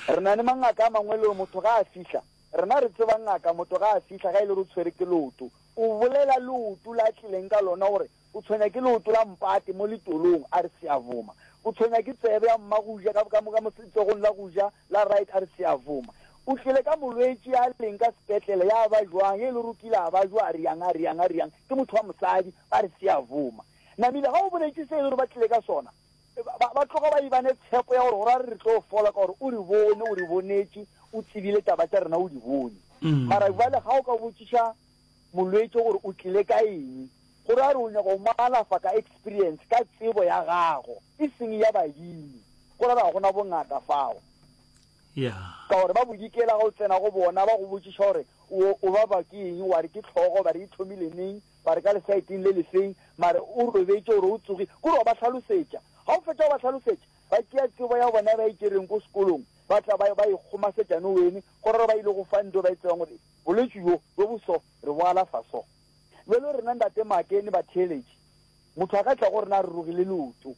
Re na le mangaka a mangwe le gore motho ga a fihla, rena re tseba ngaka, motho ga a fihla ga e le gore o tshwere ke leoto, o bolela leoto le a tlileng ka lona gore o tshwenya ke leoto la mpate mo letolong, a re seavoma. O tshwenya ke tsebe ya mmagoja ka, ka, ka mo letsogong la go ja la right, a re seavoma. O tlile ka molwetši a leng ka sepetlele, ya ba jwang, ye e le gore o kile a ba jwa, a riang, a riang, a riang, ke motho wa mosadi, ba re seavoma. Namile ga o boletše se e le gore ba tlile ka sona, ba, ba tloga ba eba ne tshepo ya gore go ra re re tlo fola ka gore o re bone, o re bonetše, o tsebile taba tša rena, o di bone. Mara bjale ga o ka botšiša molwetši gore o tlile ka eng, go ra gore o nyaka go mo alafa ka experience, ka tsebo ya gago, e seng ya badimo. Go ra gore ga go na bongaka fao. Ka gore ba bodikela ga o tsena go bona, ba go botšiša gore o, o baba ke eng, wa re ke hlogo, ba re e thomile neng, ba re ka lesaeteng le lefeng, mare o robetše gore o tsoge, ke gore wa ba hlalosetša. Ga o fetša go ba hlalosetša, ba tšea tsebo ya bona ba e tšereng ko sekolong, ba tla ba, ba e kgomasetša no wene, go ra gore ba ile go fa nto ba e tsebang gore bolwetši bjo, bjo bo so, re bo alafa so. Bjalo rena Ntate Makene batheeletši, motho a ka tla go rena a rurugile leoto.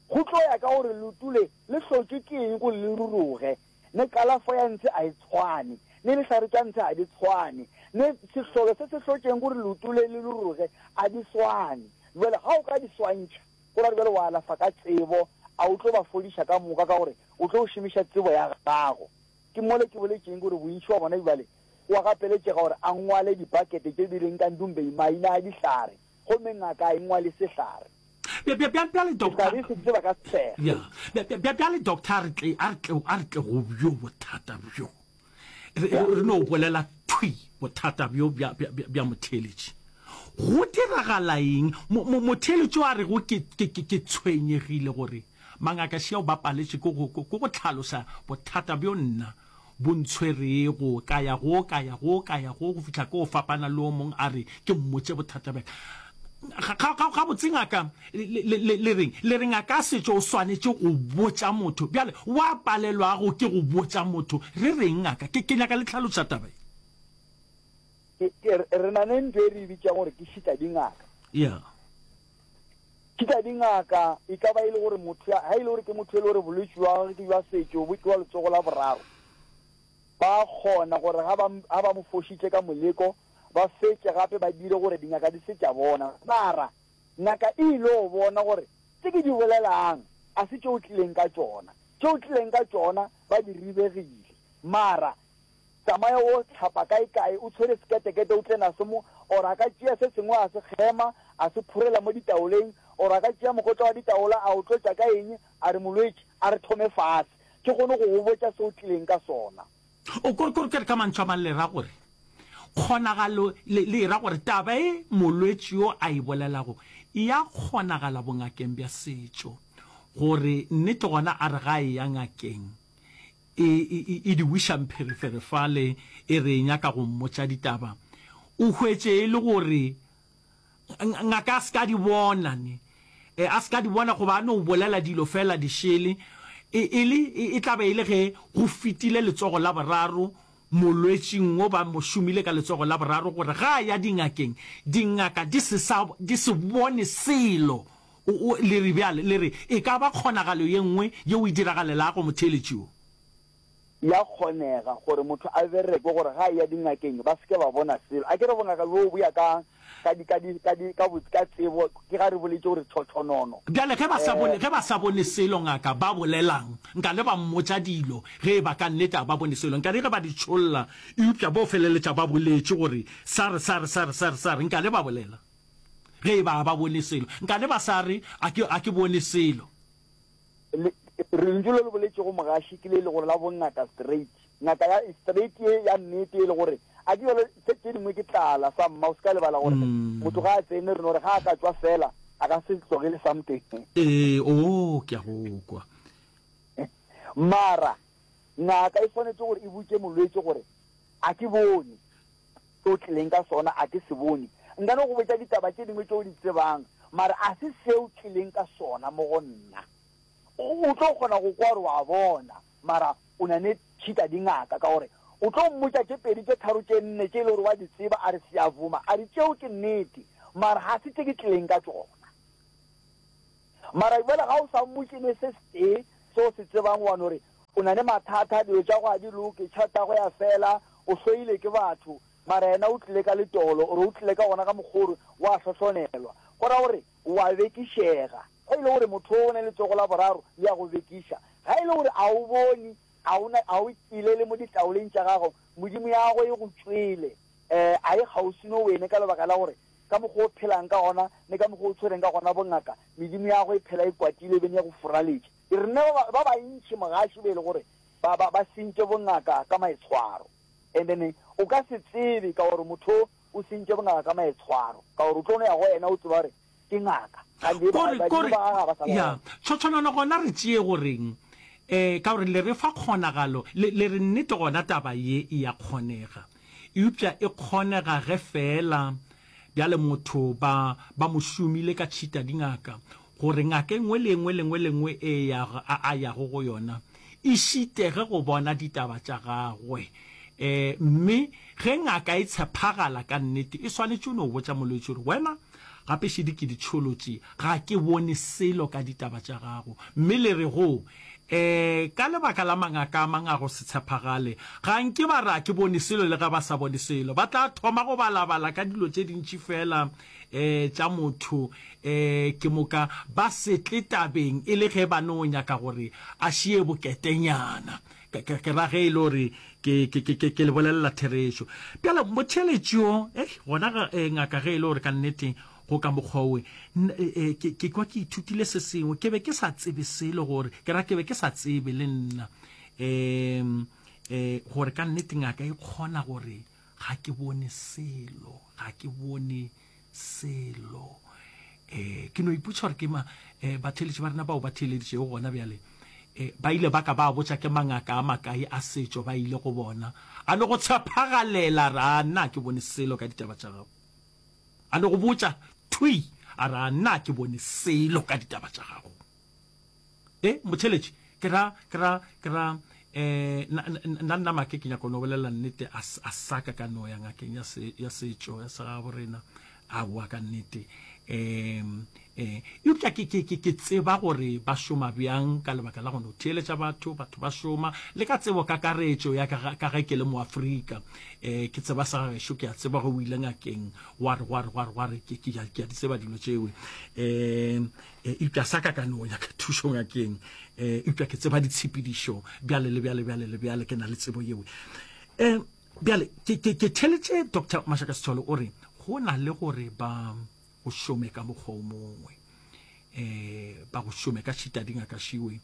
Go tlo ya ka gore leoto le le hlotšwe ke eng gore le ruruge. Ne kalafo ya ntshe a e tshwane, ne dihlare tša ntshe a di tshwane, ne sehlolo se se hlotšeng gore leoto le le ruruge a di swane. Bjale ga o ka di swantšha, go ra gore bjale wa alafa ka tsebo, a o tlo ba fodiša ka moka ka gore o tlo šomiša tsebo ya gago. Ke mole ke boletšeng gore bontši wa bona bjale o a gapeletšega gore a ngwale dipakete tše di leng ka Ndumbei maina a dihlare, gomme ngaka a e ngwale sehlare. Bja, bja, bja, bjale, doctor. Sehlare se tseba ka sehla. Ya. Bja, bja, bja, bjale, doctor, a re tle, a re tle, a re tle go bjo bothata bjo. Re, Ya. re no bolela thwi bothata bjo bja, bja, bja, bja motheeletši. Go diragala eng? Mo, mo, motheeletši o a rego ke, ke, ke, ke tshwenyegile gore mangaka šeo ba paletše ke go, ke go hlalosa bothata bjo nna bo ntshwerego, ka ya go, ka ya go, ka ya go, go fihla ke o fapana le o mong a re ke mmotše bothata bja ka. Ga, ga, ga, gabotse ngaka, le, le, le, le reng? Le re ngaka a setšo o swanetše go botša motho. Bjale, wa palelwago ke go botša motho, re reng ngaka? Ke, ke nyaka le hlaloša taba ye. Ke, ke, re na le ntho e re e bitšang gore ke šita dingaka. Yeah. Šita dingaka e ka ba e le gore motho ya, ha e le gore ke motho e le gore bolwetši bja gagwe ke bja setšo, bo ke wa letsogo la boraro, ba kgona gore ga ba, ga ba mo fošitše ka moleko, ba fetše gape ba dire gore dingaka di se tša bona. Mara ngaka e ile go bona gore tše ke di bolelang a se tše o tlileng ka tšona. Tše o tlileng ka tšona ba di ribegile. Mara Tsamaya o hlapa kaekae, o tshwere seketekete o tle naso mo, or a ka tšea se sengwe a se kgema, a se phurela mo ditaoleng, or a ka tšea mokotla wa ditaola a o tlotša ka eng, a re, Molwetši, a re thome fase, ke kgone go go botša se o tlileng ka sona. O, kore, kore, ke re ka mantšu a mang le ra gore kgonagalo, le, le e ra gore taba e molwetši yo a e bolelago e a kgonagala bongakeng bja setšo, gore nnete gona a re ga a eya ngakeng, E, e, e di wiša mpherefere fale, e re e nyaka go mmotša ditaba. O hwetše e le gore ngaka a se ka di bona, ne. E, a se ka di bona goba a no bolela dilo feela di šele. E, e le, e, e tla be e le ge go fetile letsogo la boraro molwetšing wo ba mo šomile ka letsogo la boraro gore ga a ya dingakeng, dingaka di se sa, di se bone selo. O, o, le re bjale, le re, e ka ba kgonagalo ye nngwe yeo e diragalelago motheeletši wo? Ya kgonega gore motho a bereke gore ga a eya dingakeng ba se ke ba bona selo. A ke re bongaka bjoo bo ya ka, ka di, ka di, ka di, ka bo, ka tsebo, ke ga re boletše gore tšhotšhonono. Bjale ge ba sa bone, Eh. ge ba sa bone selo ngaka, ba bolelang? Nka le ba mmotša dilo ge e ba ka nnete a ba bone selo. Nka le ge ba di tšholla, eupša bo feleletša ba boletše gore sa re, sa re, sa re, sa re, sa re. Nka le ba bolela. Ge e ba ba bone selo. Nkane ba sa re, A ke, a ke bone selo. Le, lentšu le le boletšego mogaši ke le e le gore la bongaka straight. Ngaka ya straight ye ya nnete e le gore a ke jalo tse tše dingwe ke tlala sa mma o se ka lebala gore motho ga a tsene re no re ga a ka tšwa fela a ka se tlogele something. Ee, oo, ke a go kwa. Mara ngaka e swanetše gore e botše molwetši gore a ke bone. Se o tlileng ka sona a ke se bone. Nka no go botša ditaba tše dingwe tše o di tsebang, mara a se se o tlileng ka sona mo go nna. O, o tlo kgona go kwa gore wa bona, mara o na ne tšhita dingaka, ka gore o tlo mmotša tše pedi, tše tharo, tše nne tše e le gore wa di tseba, a re, Siyavuma, a re, tšeo ke nnete, mara ga se tše ke tlileng ka tšona. Mara bjale ga o sa mmotše ne se setee se o se tsebang, wa no re. O na le mathata, dilo tša go a di loke, tšhelete ya go ya fela, o hloile ke batho, mara yena o tlile ka letolo, or o tlile ka gona ka mokgwa o re wa hlohlonelwa. Go ra gore o a bekišega. Ge e le gore motho o na le letsogo la boraro, le a go bekiša. Ga e le gore a o bone, a o na, a o kilele mo ditaoleng tša gago, Modimo ya gagwe e go tšwele, eh, a e kgauswi no wene ka lebaka la gore ka mokgwa o phelang ka gona le ka mokgwa o tshwereng ka gona bongaka, medimo ya gagwe e phela e kwatile e bene e go furaletše. Rena ba, ba bantši mogaši be e le gore ba, ba, ba sentše bongaka ka maitshwaro. And then o ka se tsebe ka gore motho o o sentše bongaka ka maitshwaro, ka gore o tlo no ya go yena o tseba gore ke ngaka. Gantši ba, Kore, badimo kore, ba gagwe ga ba sa ba ya, gona. tshotshonano gona re tšee goreng, eh, ka gore le re fa kgonagalo, le, le re nnete gona taba ye e ya kgonega. Eupša e kgonega ge feela bjale motho ba, ba mo šomile ka tšhita dingaka, gore ngaka e nngwe le e nngwe le nngwe le nngwe e ya, a, a yago go yona, e šitege go bona ditaba tša gagwe. E, mme ge ngaka e tshephagala ka nnete, e swanetše no botša molwetši gore, Wena, gape šedi ke di tšholotše, ga ke bone selo ka ditaba tša gago. Mme le re go, E, ka lebaka la mangaka a mang a go se tshephagale, ga nke ba re a ke bone selo le ge ba sa bone selo. Ba tla thoma go balabala ka dilo tše dintši feela e, tša motho, e, ke moka ba se tle tabeng e le ge ba no nyaka gore a šie boketenyana. Ke, ke, ke ra ge e le gore ke, ke, ke, ke, ke le bolelela therešo. Bjale motheeletši yo, ei, gona ga, e, ngaka ge e le gore ka nnete go ka mokgwa owe, n, e, e, ke, ke kwa ke ithutile se sengwe. Ke be ke sa tsebe selo gore, ke ra ke be ke sa tsebe le nna, e, e, gore ka nnete ngaka e kgona gore ga ke bone selo, ga ke bone selo. E, ke no ipotša gore ke ma, e, batheeletši ba rena bao ba theeleditšego gona bjale, e, ba ile ba ka ba botša ke mangaka a makae a setšo ba ile go bona, a no go tshephagalela, ra nna ke bone selo ka ditaba tša gago. A no go botša thwi, a ra nna ke bone selo ka ditaba tša gago. E, motheeletši, ke ra, ke ra, ke ra, eh, na, na, nna make ke nyaka no bolela nnete, a, a sa ka ka no ya ngakeng ya, se, ya setšo, ya segabo rena, aowa ka nnete. Eh, eh, eupša ke, ke, ke, ke tseba gore ba šoma bjang ka lebaka la go no theeletša batho, batho ba šoma, le ka tsebo kakaretšo ya ka, ka ge ke le Moafrika, eh, ke tseba sa gešo, ke a tseba ge o ile ngakeng, gwa re, gwa re, gwa re, gwa re, ke, ke, ke a di tseba dilo tšewe. Eh, Eupša sa ka ka no nyaka thušo ngakeng. Eupša ke tseba ditshepedišo bjale le bjale, bjale le bjale, ke na le tsebo yeo. Um bjale ke, ke, ke theletše Doctor Mashaka Sithole o re go na le gore ba go šome ka mokgwa o mongwe, um ba go šome ka šita dingaka šiwe,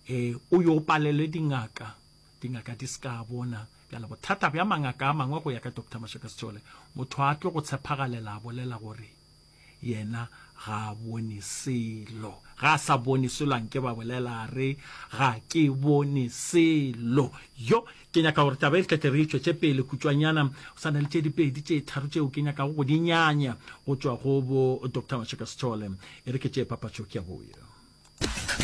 um o yo palelwe dingaka, dingaka di se ka bona. Bjale bothata bja mangaka a mangwe go ya ka Doctor Mashaka Sithole, motho a tlo go tshephagalela a bolela gore Yena ga a bone selo. Ga a sa bone selo, a nke ba bolela a re, Ga ke bone selo. Yo, ke nyaka gore taba e re tle tle re e tšwetše pele kutšwanyana. Go sa na le tše dipedi, tše tharo tšeo ke nyakago go di nyanya go tšwa go bo Doctor Mashaka Sithole. E re ke tšee papatšo, ke a boya.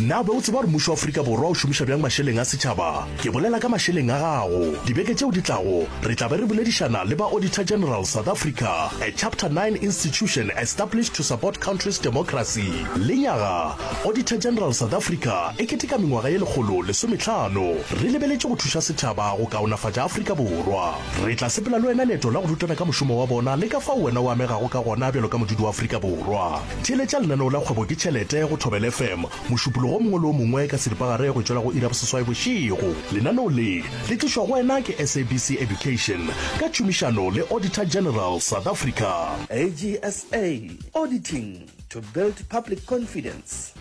Na o be o tseba gore mmušo wa Afrika Borwa o šomiša bjang mašeleng a setšhaba? Ke bolela ka mašeleng a gago. Dibeke tšeo di tlago, re tla be re boledišana le ba Auditor General South Africa, a Chapter 9 institution established to support country's democracy. Lenyaga, Auditor General South Africa e keteka mengwaga ye 115. Re lebeletše go thuša setšhaba go kaonafatša Afrika Borwa. Re tla sepela le wena leeto la go rutana ka mošomo wa bona le ka fao wena o amegago ka gona bjalo ka modudi wa Afrika Borwa. Theeletša lenaneo la Kgwebo ke Tšhelete go Thobela FM Mošupologo o mongwe le o mongwe ka seripagare go tšwela go iri ya boseswai bošego. Lenaneo le le tlišwa go wena ke SABC Education ka tšhomišano le Auditor General South Africa. AGSA, Auditing to build public confidence.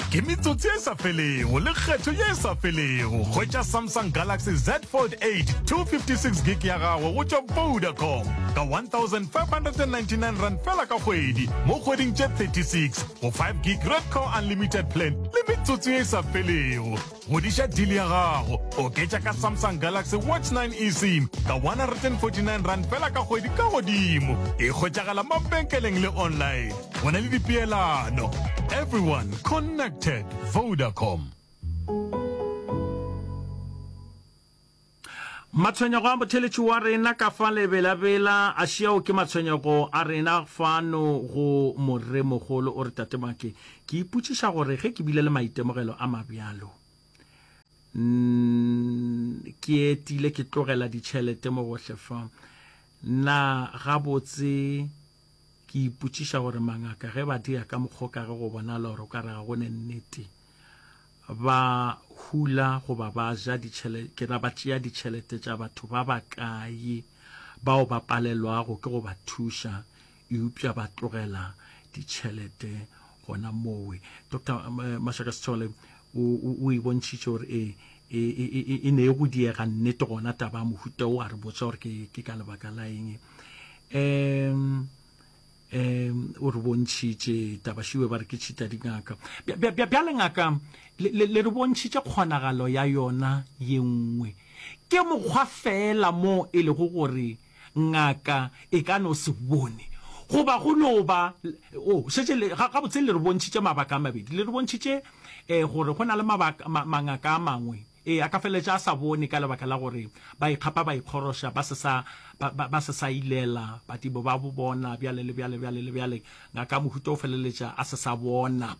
Ke metsotso ye e sa felego le kgetho ye e sa felego. Hwetša Samsung Galaxy Z Fold 8 256 gig ya gago go tšwa Vodacom ka R1599 fela ka kgwedi mo kgweding tše 36 go 5 gig Redco Unlimited plan le metsotso ye e sa felego. Godiša deal ya gago, oketša ka Samsung Galaxy Watch 9 eSIM ka R149 fela ka kgwedi ka godimo. E hwetšagala mabenkeleng le online. Go na le dipeelano. Everyone connected. Vodacom. Matshwenyego a motheletši wa rena ka fa lebelabela a šiao ke matshwenyego a rena fano go moremogolo o re tate Make ke ipotšiša gore ge ke bile le maitemogelo a mabjalo. Ke etile ke tlogela ditšhelete mo gohle fa. Na gabotse ke ipotšiša gore mangaka ge ba dira ka mokgwa o ka ge go bonala gore o ka re ga go ne nnete, ba hula goba ba ja ditšhelete, ke ra ba tšea ditšhelete tša batho ba bakae bao ba palelwago ke go ba thuša eupša ba tlogela ditšhelete gona mowe. Doctor Mashaka Sithole o, o, o e bontšhitše gore e, e, e, e, e ne e go diega nnete gona taba ya mohuta o, a re botša gore ke, ke ka lebaka la eng. Um, um o re bontšhitše taba šiwe ba re ke tšhita dingaka. Bjale ngaka, le, le, le re bontšhitše kgonagalo ya yona ye nngwe. Ke mokgwa feela mo e lego gore Ngaka e ka no se bone goba go no ba, o šetše le, ga, gabotse le re bontšhitše mabaka a mabedi. Le re bontšhitše eh, gore go na le mabaka, ma, mangaka a mangwe, ee, a ka feleletša a sa bone ka lebaka la gore ba ikgapa ba ikgoroša, ba se sa, ba, ba, ba se sa ilela badimo ba bo bona, bjale le bjale, bjale le bjale. Ngaka ya mohuta o feleletša a se sa bona.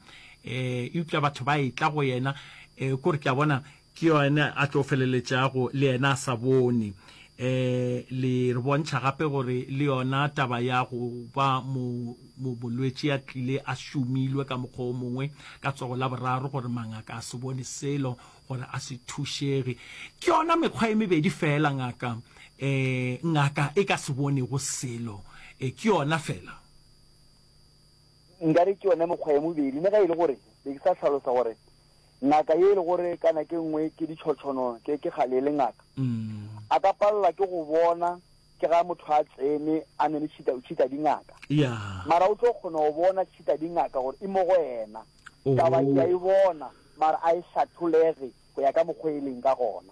Eh, eupša batho ba etla go yena, eh, kore ke a bona, Ke yena a tlo feleletšago le yena a sa bone. E, le re bontšha gape gore le yona taba ya go ba mo, mo, molwetši a tlile a šomilwe ka mokgwa o mongwe ka tsogo la boraro gore mangaka a se bone selo, gore a se thušege. Ke yona mekgwa e mebedi feela ngaka, e, ngaka e ka se bonego selo. E, ke yona feela. Nkare ke yona mekgwa e mobedi, mme ga e le gore be ke sa hlalosa gore Ngaka ye e le gore ka nako e nngwe ke ditšhotšhono, ke, ke kgale e le ngaka, a ka palelwa ke go bona ke ga motho a tsene a ne le tšhita, tšhita dingaka. Ya. Mara o tlo kgona go bona tšhita dingaka gore e mo go yena. Taba ke a e bona, mara a e hlatholege go ya ka mokgwa e leng ka gona.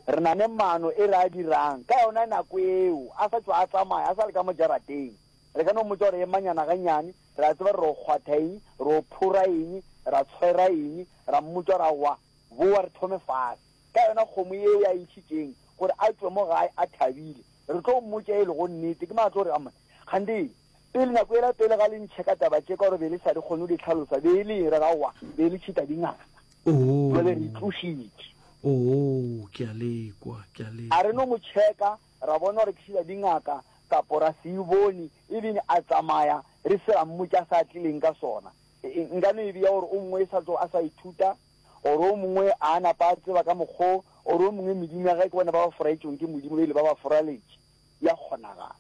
Re na ne maano e re a dirang ka yona nako eo, a sa tšwa a tsamaya, a sa le ka mo jarateng. Re ka no mmotša gore emanyana gannyane, Re a tseba re ro kgwatha eng, ro phora eng, ra tshwera eng, ra mmotša ra wa, bowa re thome fase. Ka yona kgomo yeo ya e ntšhitšeng gore a tšwe mo gae a thabile, re tlo mmotša e lego nnete. Ke mang a tlo re, Amma, kganthe pele nako yela pele ga le ntšhe ka taba tše ka gore be le sa di kgone go di hlalosa, be e le eng? Re ra aowa, be e le tšhita dingaka. Jwale re itlošitše. Oo, ke a le kwa, ke a le A re no mo checka, ra bona gore ke tšhita dingaka, kapo ra se e bone, ebile a tsamaya re se ra mmotša sa a tlileng ka sona. Nka no e bea gore o mongwe e sa tlo a sa ithuta, or o mongwe a napa a tseba ka mokgo, or o mongwe medimo ya gage ke bona ba ba foraetšweng ke Modimo ba ile ba ba foraletše. Ya kgonagala.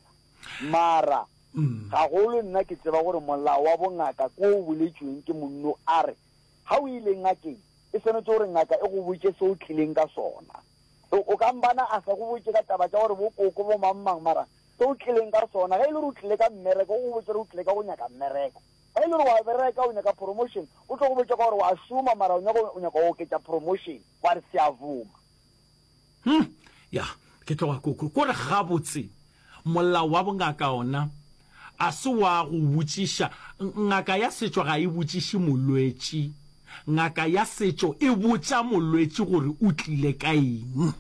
Mara gagolo nna ke tseba gore molao wa bongaka ke o boletšweng ke monno a re ga o ile ngakeng e swanetše gore ngaka e go botše se o tlileng ka sona. O ka mbana a sa go botše ka taba tša gore bo koko bo mang mang mara se o tlileng ka sona. Ge e le gore o tlile ka mmereko, o go botše gore o tlile ka go nyaka mmereko. Ge e le gore wa bereka o nyaka promotion, o tlo go botša ka gore wa šoma mara o nyaka o nyaka go oketša promotion. Wa re siyavuma. Hm, ya, ke tloga ko ko ko re gabotse molao wa bongaka ona a se wa go botšiša. Ngaka ya setšo ga e botšiše molwetši. Ngaka ya setšo e botša molwetši gore o tlile ka eng.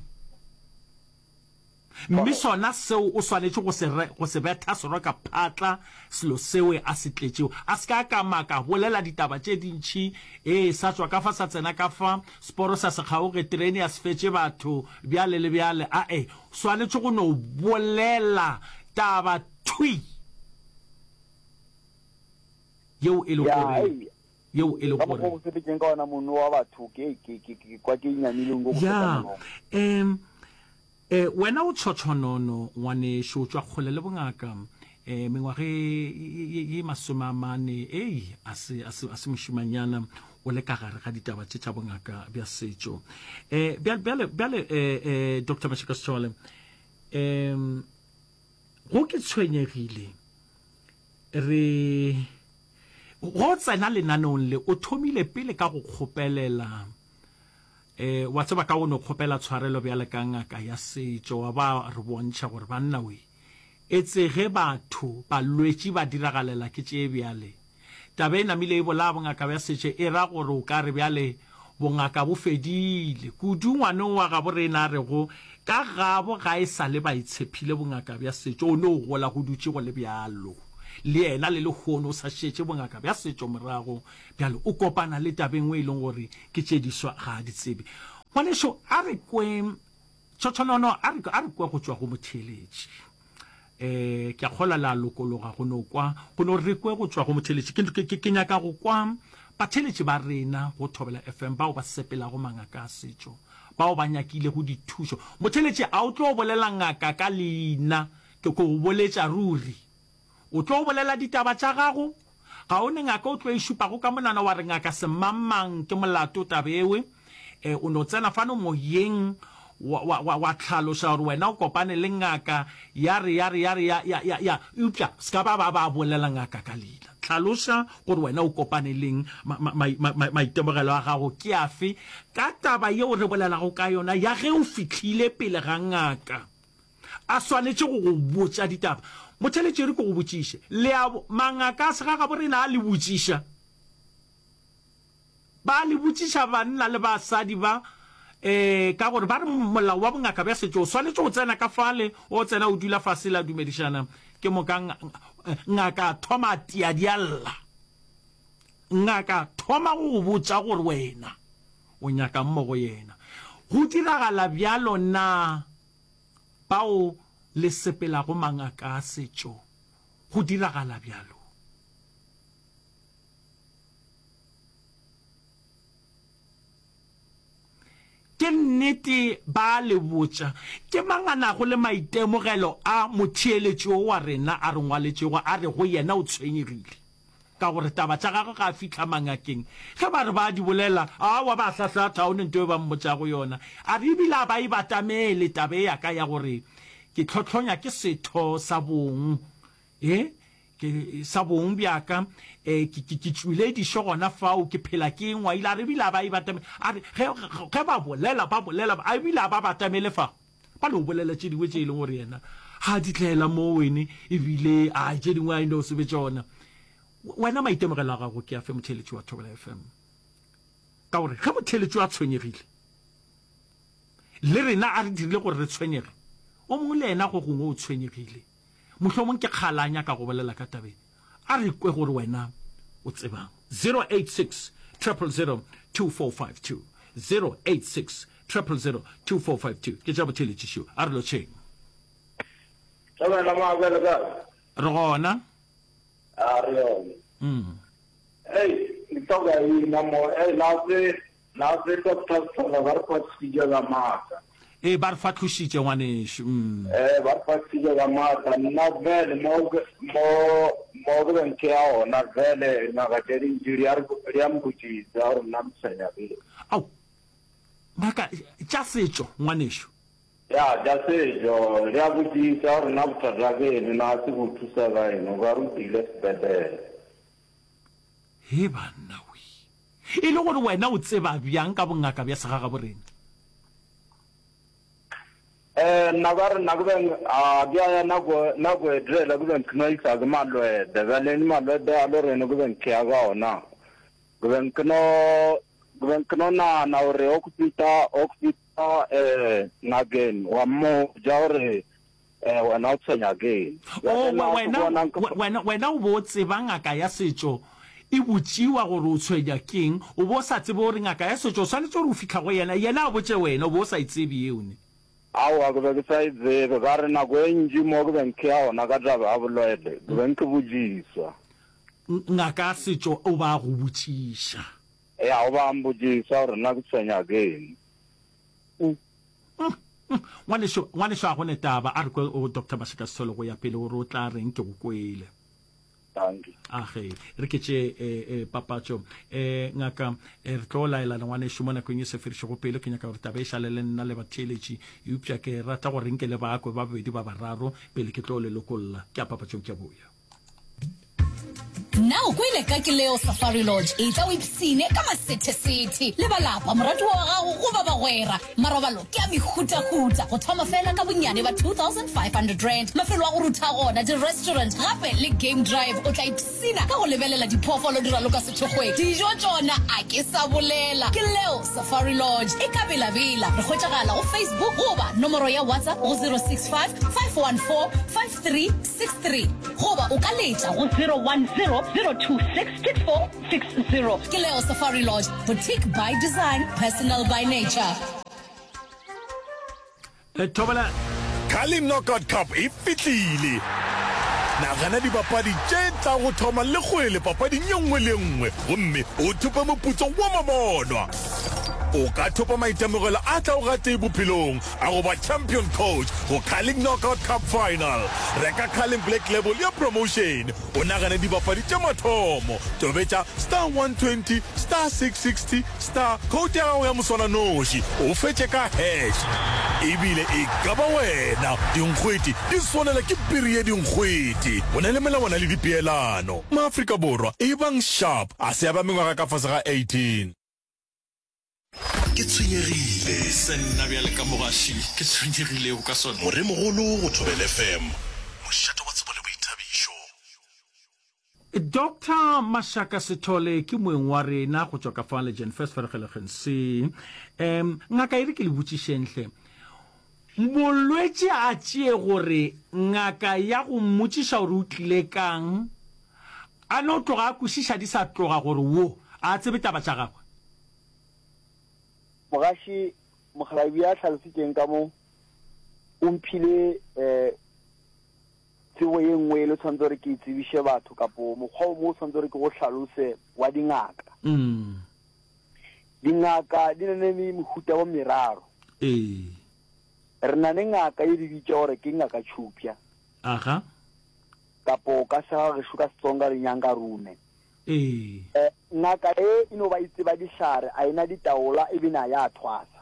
Mme sona seo o swanetše go se re, go se betha seroka phatla, selo sewe a se tletšego. A se ka a kamaka, bolela ditaba tše dintši, ee, sa tšwa ka fa sa tsena ka fa, seporo sa se kgaoge, terene ya se fetše batho, bjale le bjale. A-e, swanetše go no bolela taba thwi yeo e le Ya, gore, ei, yeo e le ka mokgwa gore. o sepetšeng ka ona mono wa batho, ke, ke, ke, ke kwa ke nyamile nko go feta Ya, molomo. em, E, wena o tshotshwonono, ngwanešu, o tšwa kgole le bongaka. E, mengwaga e, ye, ye masomeamane, ei, a se, a se, a se mošimanyana, o le ka gare ga ditaba tše tša bongaka bja setšo. E, bjale, bjale, bjale, e, e, Doctor Mashika Sithole, e, go ke tshwenyegile, re, go tsena lenaneong le, o thomile pele ka go kgopelela, E, wa tseba ka o no kgopela tshwarelo bjale ka ngaka ya setšo, wa ba re bontšha gore banna we, etse ge batho, balwetši ba diragalela ke tše bjale. Taba e namile e bolaya bongaka bja setšo e ra gore o ka re bjale bongaka bo fedile. Kudu ngwaneng wa gabo rena a rego ka gabo ga e sa le ba itshephile bongaka bja setšo, o no gola go dutše go le bjalo. Le yena le lehono o sa šetše bongaka bja setšo morago. Bjale o kopana le taba e nngwe e leng gore ke tše diswa ga a di tsebe. Ngwanešu, a re kwe, tšhotšhonono, a re, a re kwe go tšwa go motheeletši. Eh, ke a kgolwa le a lokologa go no kwa, go no re kwe go tšwa go motheeletši. Ke, ke, ke, ke nyaka go kwa batheeletši ba rena go Thobela FM bao ba sepelago mangaka a setšo, bao ba nyakilego dithušo. Motheeletši, a o tlo bolela ngaka ka leina, ke go boletša ruri. O tlo bolela ditaba tša gago? Ga o ne ngaka o tlo e šupago ka monwana wa re ngaka semangmang ke molato taba ewe? E, o no tsena fano moyeng wa, wa, wa, wa hlaloša gore wena o kopane le ngaka ya re, ya re, ya re, ya, ya, ya, ya, eupša se ka ba ba ba bolela ngaka ka leina. Hlaloša gore wena o kopane leng, ma, ma, ma, ma, ma, maitemogelo a gago ke afe ka taba yeo re bolelago ka yona ya ge o fihlile pele ga ngaka. A swanetše go go botša ditaba. Motheletši, e re ke go botšiše. Le a bo, mangaka a segagabo rena a le botšiša. Ba le botšiša banna le basadi ba, eh, ka gore ba re molao wa bongaka bja setšo o swanetše go tsena ka fale, o tsena o dula fase la dumedišana, ke moka ngaka a thoma a tia di a lla. Ngaka thoma go go botša gore wena o nyakang mo go yena. Go diragala bjalo na? Bao le sepelago mangaka a setšo, go diragala bjalo. Ke nnete ba a le botša. Ke mang a nago le maitemogelo a motheeletši wo wa rena a re ngwaletšego a re go yena o tshwenyegile? Ka gore taba tša gagwe ga a fihla mangakeng. Ge ba re ba a di bolela, aowa ba hlahlatha, ga go ne nto e ba mmotšago yona. A re ebile a ba e batamele taba e ya ka ya gore ke hlohlonya ke setho sa bong, e, ke, sa bong bja ka, e, ke, ke, ke tšwile dišo gona fao, ke phela ke engwaile. A re ebile a ba e batamele, a re ge, ge ba bolela, ba bolela, a ebile a ba batamele fa. Ba no bolela tše dingwe tše e leng gore yena ga a di tlela mo wene, ebile a tše dingwe a e no se be tšona. Wena maitemogelo a gago ke afe motheeletši wa Thobela FM? Ka gore ge motheeletši a tshwenyegile, le rena a re dirile gore re tshwenyege, o mongwe le yena go gongwe o tshwenyegile. Mohlomong ke kgale a nyaka go bolela ka taba e. A re kwe gore wena o tsebang. 086 000 2452 086 000 2452 Ke tša botheeletši šo. A re lotšheng. Thobela Mabe le kae? Re gona. A re yone. Mm. Hey, ke hloka ina mo. Hey, na se na se Doctor Sithole ba re fatlositše ka maatla. Ee, ba re fatlositše ngwanešu. Mm. Eh, ba re fatlositše ka maatla. Nna vele mo mo mo ke beng ke ya gona vele ngaka tše dintši di a di a mpotšisa gore nna mtshwenya ke. Ao, ngaka tša setšo ngwanešu. Ya, tša setšo di a botšisa gore nna bothata ke eng, na se bo thusa ka eng, o ka re o tlile sepetlele. He banna wee. E le gore wena o tseba bjang ka bongaka bja segagaborena? Eh, nna ka re nna ke beng a ke a ya nako nako e telele ke beng ke no isa ke malwede bjale ni malwede a lo rene ke beng ke ya ka ona ke beng ke no ke beng ke no nana gore o ke fita o ke fita eh ngakeng wa mmotša gore Eh, wena o tshwenya ke eng? O, Bjale nna ke wena, bona nka. wena, wena o bo o tseba ngaka ya setšo e botšiwa gore o tshwenya ke eng, o bo o sa tsebe gore ngaka ya setšo o swanetše gore o fihla go yena, yena a botše wena, o bo o sa e tsebe yeo ne? Aowa, ke be ke sa e tsebe. Ka re nako e ntši mo ke beng ke ya gona ka taba ya bolwele, ke beng ke botšiswa. Ngaka ya setšo o ba a go botšiša. Ya, o ba a mpotšiša gore nna ke tshwenya ke eng. O. Ngwanešu, ngwanešu a go ne taba, a re kwe o Doctor Mashika Sithole go ya pele gore o tla reng, ke go kwele. Dankie. A ge, re ke tše e, e, papatšo. E, ngaka, e, re tlo laelana ngwanešu mo nakong e se fedišego pelo, ke nyaka gore taba e šale le nna le batheeletši, eupša ke rata gore nke le bakwe ba babedi ba bararo pele ke tlo le lokolla. Ke a papatšong, ke a boya. Na o kwele ka Kileo Safari Lodge? Etla o ipsine ka masethesethe le ba lapa, moratiwa wa gago goba bagwera. Marobalo ke a mehutahuta, go thoma fela ka bonnyane ba R2500. Mafelo a go rutha gona, di-restaurant gape le game drive. O tla ipsina ka go lebelela diphoofolo di raloka sethokgweng. Dijo tšona a ke sa bolela. Kileo Safari Lodge e ka Bela-Bela. Re hwetšagala go Facebook goba nomoro ya WhatsApp go 065 514 5363 goba o ka letša go 010 026 6460. Ke Leo Safari Lodge, boutique by design, personal by nature. Thobela. Carling Knockout Cup e fihlile! Nagana dibapadi tše tla go thoma le kgwele papading ye nngwe le ye nngwe gomme o thope moputso wa mabonwa. O ka thopa maitemogelo a tlago gatee bophelong a go ba champion coach go Carling Knockout Cup Final. Reka Carling Black Label ya promotion o nagane dibapadi tša mathomo. Tobetša star 120 star 660 star code ya gago ya moswananoši o fetše ka hash. Ebile e ka ba wena. Dinkgwete di swanela ke piri ye dinkgwete. Go na le melawana le dipeelano. Maafrika Borwa, ebang sharp. A se ya ba mengwaga ka fase ga 18. Ke tshwenyegile. Se nna bjale ka mogaši ke tshwenyegilego ka sona. Moremogolo go Thobela FM, mošate wa tsebo le boithabišo. Doctor Mashaka Sithole ke moeng wa rena go tšwa ka fa Legend First Vergelegen se. Um, ngaka e re ke le botšišeng hle. Molwetši a tšee gore ngaka ya go mmotšiša gore o tlile kang, a no tloga a kwešiša di sa tloga gore wo a tsebe taba tša gagwe. Mogaši Mokgalabje a hlalositšeng ka mo o mphile um tsebo ye nngwe e le tshwanetse gore ke e tsebiše batho kapo mokgwa o mongwe o tshwanetse gore ke go hlalose wa dingaka. Dingaka di na le mehuta wa meraro. Ee. Re na le ngaka ye di bitša gore ke ngaka tšhupša. Aga. Kapo ka segagešo ka Setsonga re nyanga rume. Ee. Ngaka e e no ba e tseba dihlare, a e na ditaola e bina ya thwasa.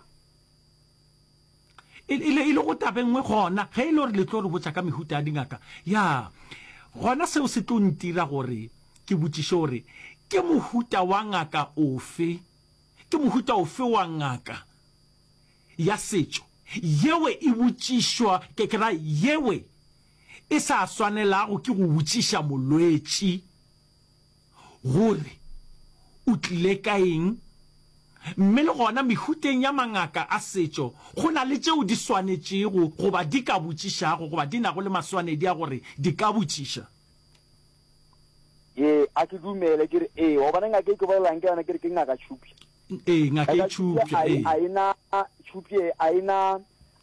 E, e le, e le go taba e nngwe gona, ge e le gore le tlo re botša ka mehuta ya dingaka, ya, gona seo se tlo ntira gore ke botšiše gore ke mohuta wa ngaka ofe, ke mohuta ofe wa ngaka ya setšo yeo e botšišwa, ke, ke ra yeo e sa swanelago ke go botšiša molwetši gore o tlile ka eng, mme le gona mehuteng ya mangaka a setšo go na le tšeo di swanetšego goba di ka botšišago goba di nago le maswanedi a gore di ka botšiša. Ee, a ke dumele ke re ee, gobane ngaka e ke bolelang ka yona ke re ke ngaka Tšhupša. Ee, ngaka e Tšhupša, ee. A e na Tšhupše, a e na,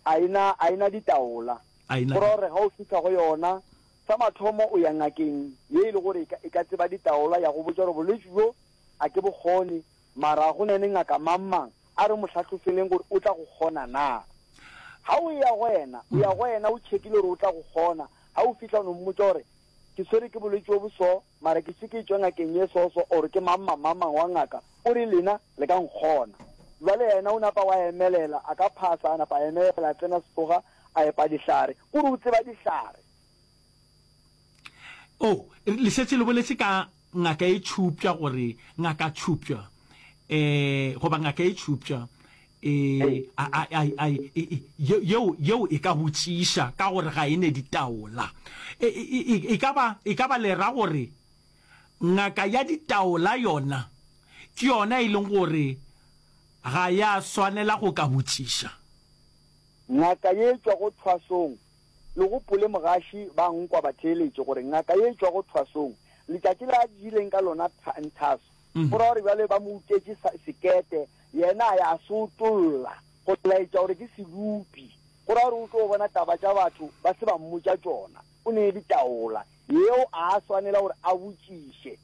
a e na, a e na ditaola. A e na. Go ra gore ga o fihla go yona, Sa mathomo o ya ngakeng ye e le gore e ka tseba ditaola ya go botša gore bolwetši bjo a ke bo kgone, mara go na le ngaka mang-mang a re mo hlahlofeleng gore o tla go kgona na. Ga o eya go yena, o ya go yena o tšhekile gore o tla go kgona, ga o fihla o no mmotša gore ke swere ke bolwetši bo bo so, mara ke se ke tšwa ngakeng ye so-so or ke mang-mang mang-mang wa ngaka o re lena le ka nkgona. Bjale yena o napa wa emelela, a ka phasa a napa a emelela a tsena setoga a epa dihlare, kore o tseba dihlare. Oh, le šetše le boletše ka ngaka e tšhupša gore ngaka tšhupša eh goba ngaka e tšhupša eh a a a a yeo yeo e ka botšiša ka gore ga e ne ditaola. E e e ka ba e ka ba le ra gore ngaka ya ditaola yona ke yona e leng gore ga ya swanela go ka botšiša. Ngaka ye e tšwago thwasong Le gopole mogaši ba nkwa ba theeletše gore ngaka ye e tšwago thwasong, letšatši le a jileng ka lona nthaso, go ra gore bjale ba mo utetše sekete, yena a ya a se otolla go laetša gore ke sedupi. Go ra gore o tlo bona taba tša batho ba se ba mmotša tšona. O ne ditaola. Yeo a a swanela gore a botšiše.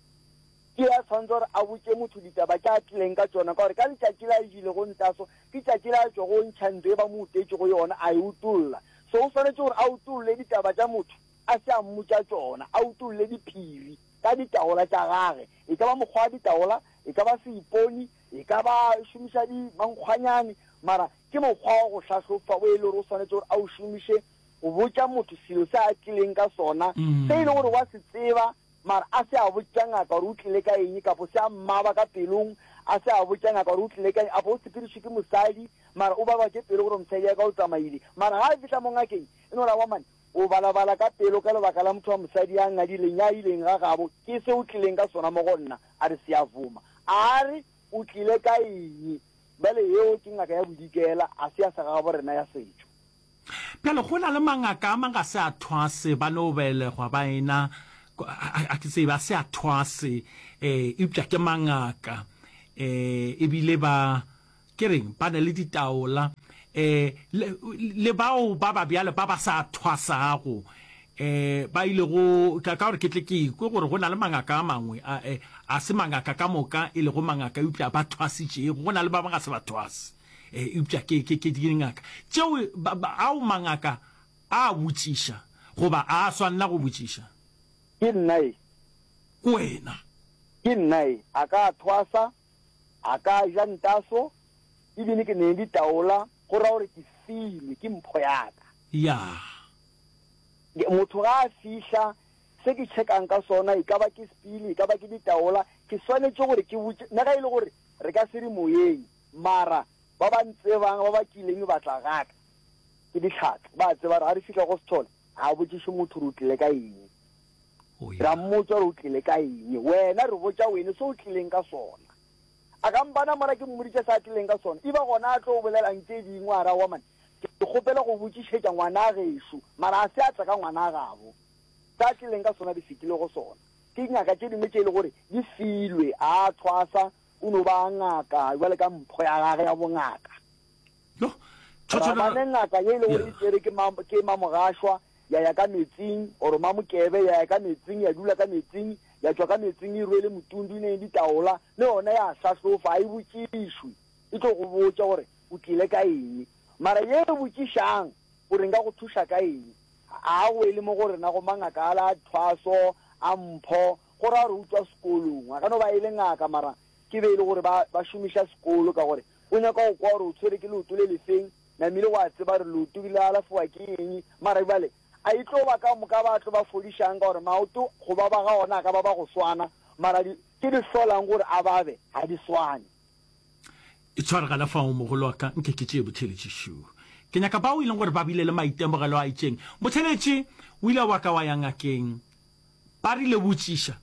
Ke ya tshwanetse gore a botše motho ditaba tša a tlileng ka tšona, ka gore ka letšatši le a jilego ntaso, ke tšatši le a tšwago o ntšha ntlo e ba mo utetšego yona, a e utolla. So o swanetše gore a utolle ditaba tša motho a se a mmotša tšona, a utolle diphiri ka ditaola tša gage, e ka ba mokgwa wa ditaola, e ka ba seiponi, e ka ba šomiša di mankgwanyane, mara ke mokgwa wa go hlahlofa o e le gore o swanetše gore a o šomiše go botša motho selo se a tlileng ka sona, se e le gore wa se tseba Mara a se a botša ngaka gore o tlile ka eng, kapo se a mmaba ka pelong, a se a botša ngaka gore o tlile ka eng, apo o sepedišwe ke mosadi, mara o baba ke pelo gore mosadi ya ka o tsamaile. Mara ga a fihla mo ngakeng, e no re aowa man, o balabala ka pelo ka lebaka la motho wa mosadi ya ngadileng, ya ileng ga gabo, ke se o tlileng ka sona mo go nna. A re Siyavuma. A re o tlile ka eng? Bjale yeo ke ngaka ya bodikela, a se ya segagabo rena ya setšo. Bjale go na le mangaka a mang ga se a thwase, ba no belegwa ba ena, a ke tsebe, a se a thwase, eh, eupša ke mangaka, eh, ebile ba, ke reng, ba na le ditaola. Um le, le bao ba ba bjale ba ba sa thwasago, um ba ilego, ka, ka gore ke tle ke kwe gore go na le mangaka a mangwe, a, eh, a se mangaka ka moka e lego mangaka, eupša ba thwasitšego. Go na le ba bangwe ga se ba thwase, eh, eupša ke, ke, ke dingaka. Tšeo, ba, ba, ao mangaka a botšiša, goba a swanela go botšiša? Ke nna e. Ke wena. Ke nna e. A ka thwasa, A ka ja ntaso, ebile ke ne ditaola, go ra gore ke filwe, ke mpho ya ka. Ya. Motho ga a fihla, se ke checkang ka sona, e ka ba ke sepili, e ka ba ke ditaola, ke swanetše gore ke botše, nna ga e le gore re ka se re moyeng, mara ba ba ntsebang, ba ba kileng ba tla ga ka, ke dihlatse, ba a tseba gore ga re fihla go Sethole, ga a botšiše motho gore o tlile ka eng. Ra mmotša gore o tlile ka eng. Wena re botša wene se o tlileng ka sona. A ka mpana mola ke mmoditše se a tlileng ka sona. E ba gona a tlo bolelang tše dingwe a re, Aowa man, ke kgopela go botšišetša ngwana gešo. Mara a se a tla ka ngwana gabo. Se a tlileng ka sona di fetile go sona. Ke nyaka tše dingwe tše e le gore di filwe. A thwasa, o no ba ngaka bjale ka mpho ya gage ya bongaka. Yo, Ra ba le ngaka ye e le gore e tšere ke ma, ke mamogašwa, ya ya ka metsing, or mamokebe, ya ya ka metsing, ya dula ka metsing, ya tšwa ka metsing e rwele motundu, e ne ditaola, le yona ya hlahlofa, ga e botšišwe, e tlo go botša gore o tlile ka eng. Mara ye e botšišang gore nka go thuša ka eng, ga a wele mo go rena go mangaka ala a thwaso, a mpho, go ra gore o tšwa sekolong, a ka no ba e le ngaka mara ke be e le gore ba, ba šomiša sekolo ka gore O nyaka go kwa gore o tshwere ke leoto le lefeng, namile wa tseba gore leoto le alafiwa ke eng, mara bjale a e tlo ba ka moka ba tlo ba fodišang ka gore maoto go baba ga ona a ka ba ba go swana, mara di, tše di hlolang gore a babe ga di swane. Itshware gana fao mogolo wa ka, nke ke tšee botheeletši šo. Ke nyaka bao e leng gore ba bile le maitemogelo a itšeng. Motheeletši, o ile wa ka wa ya ngakeng, ba rile botšiša.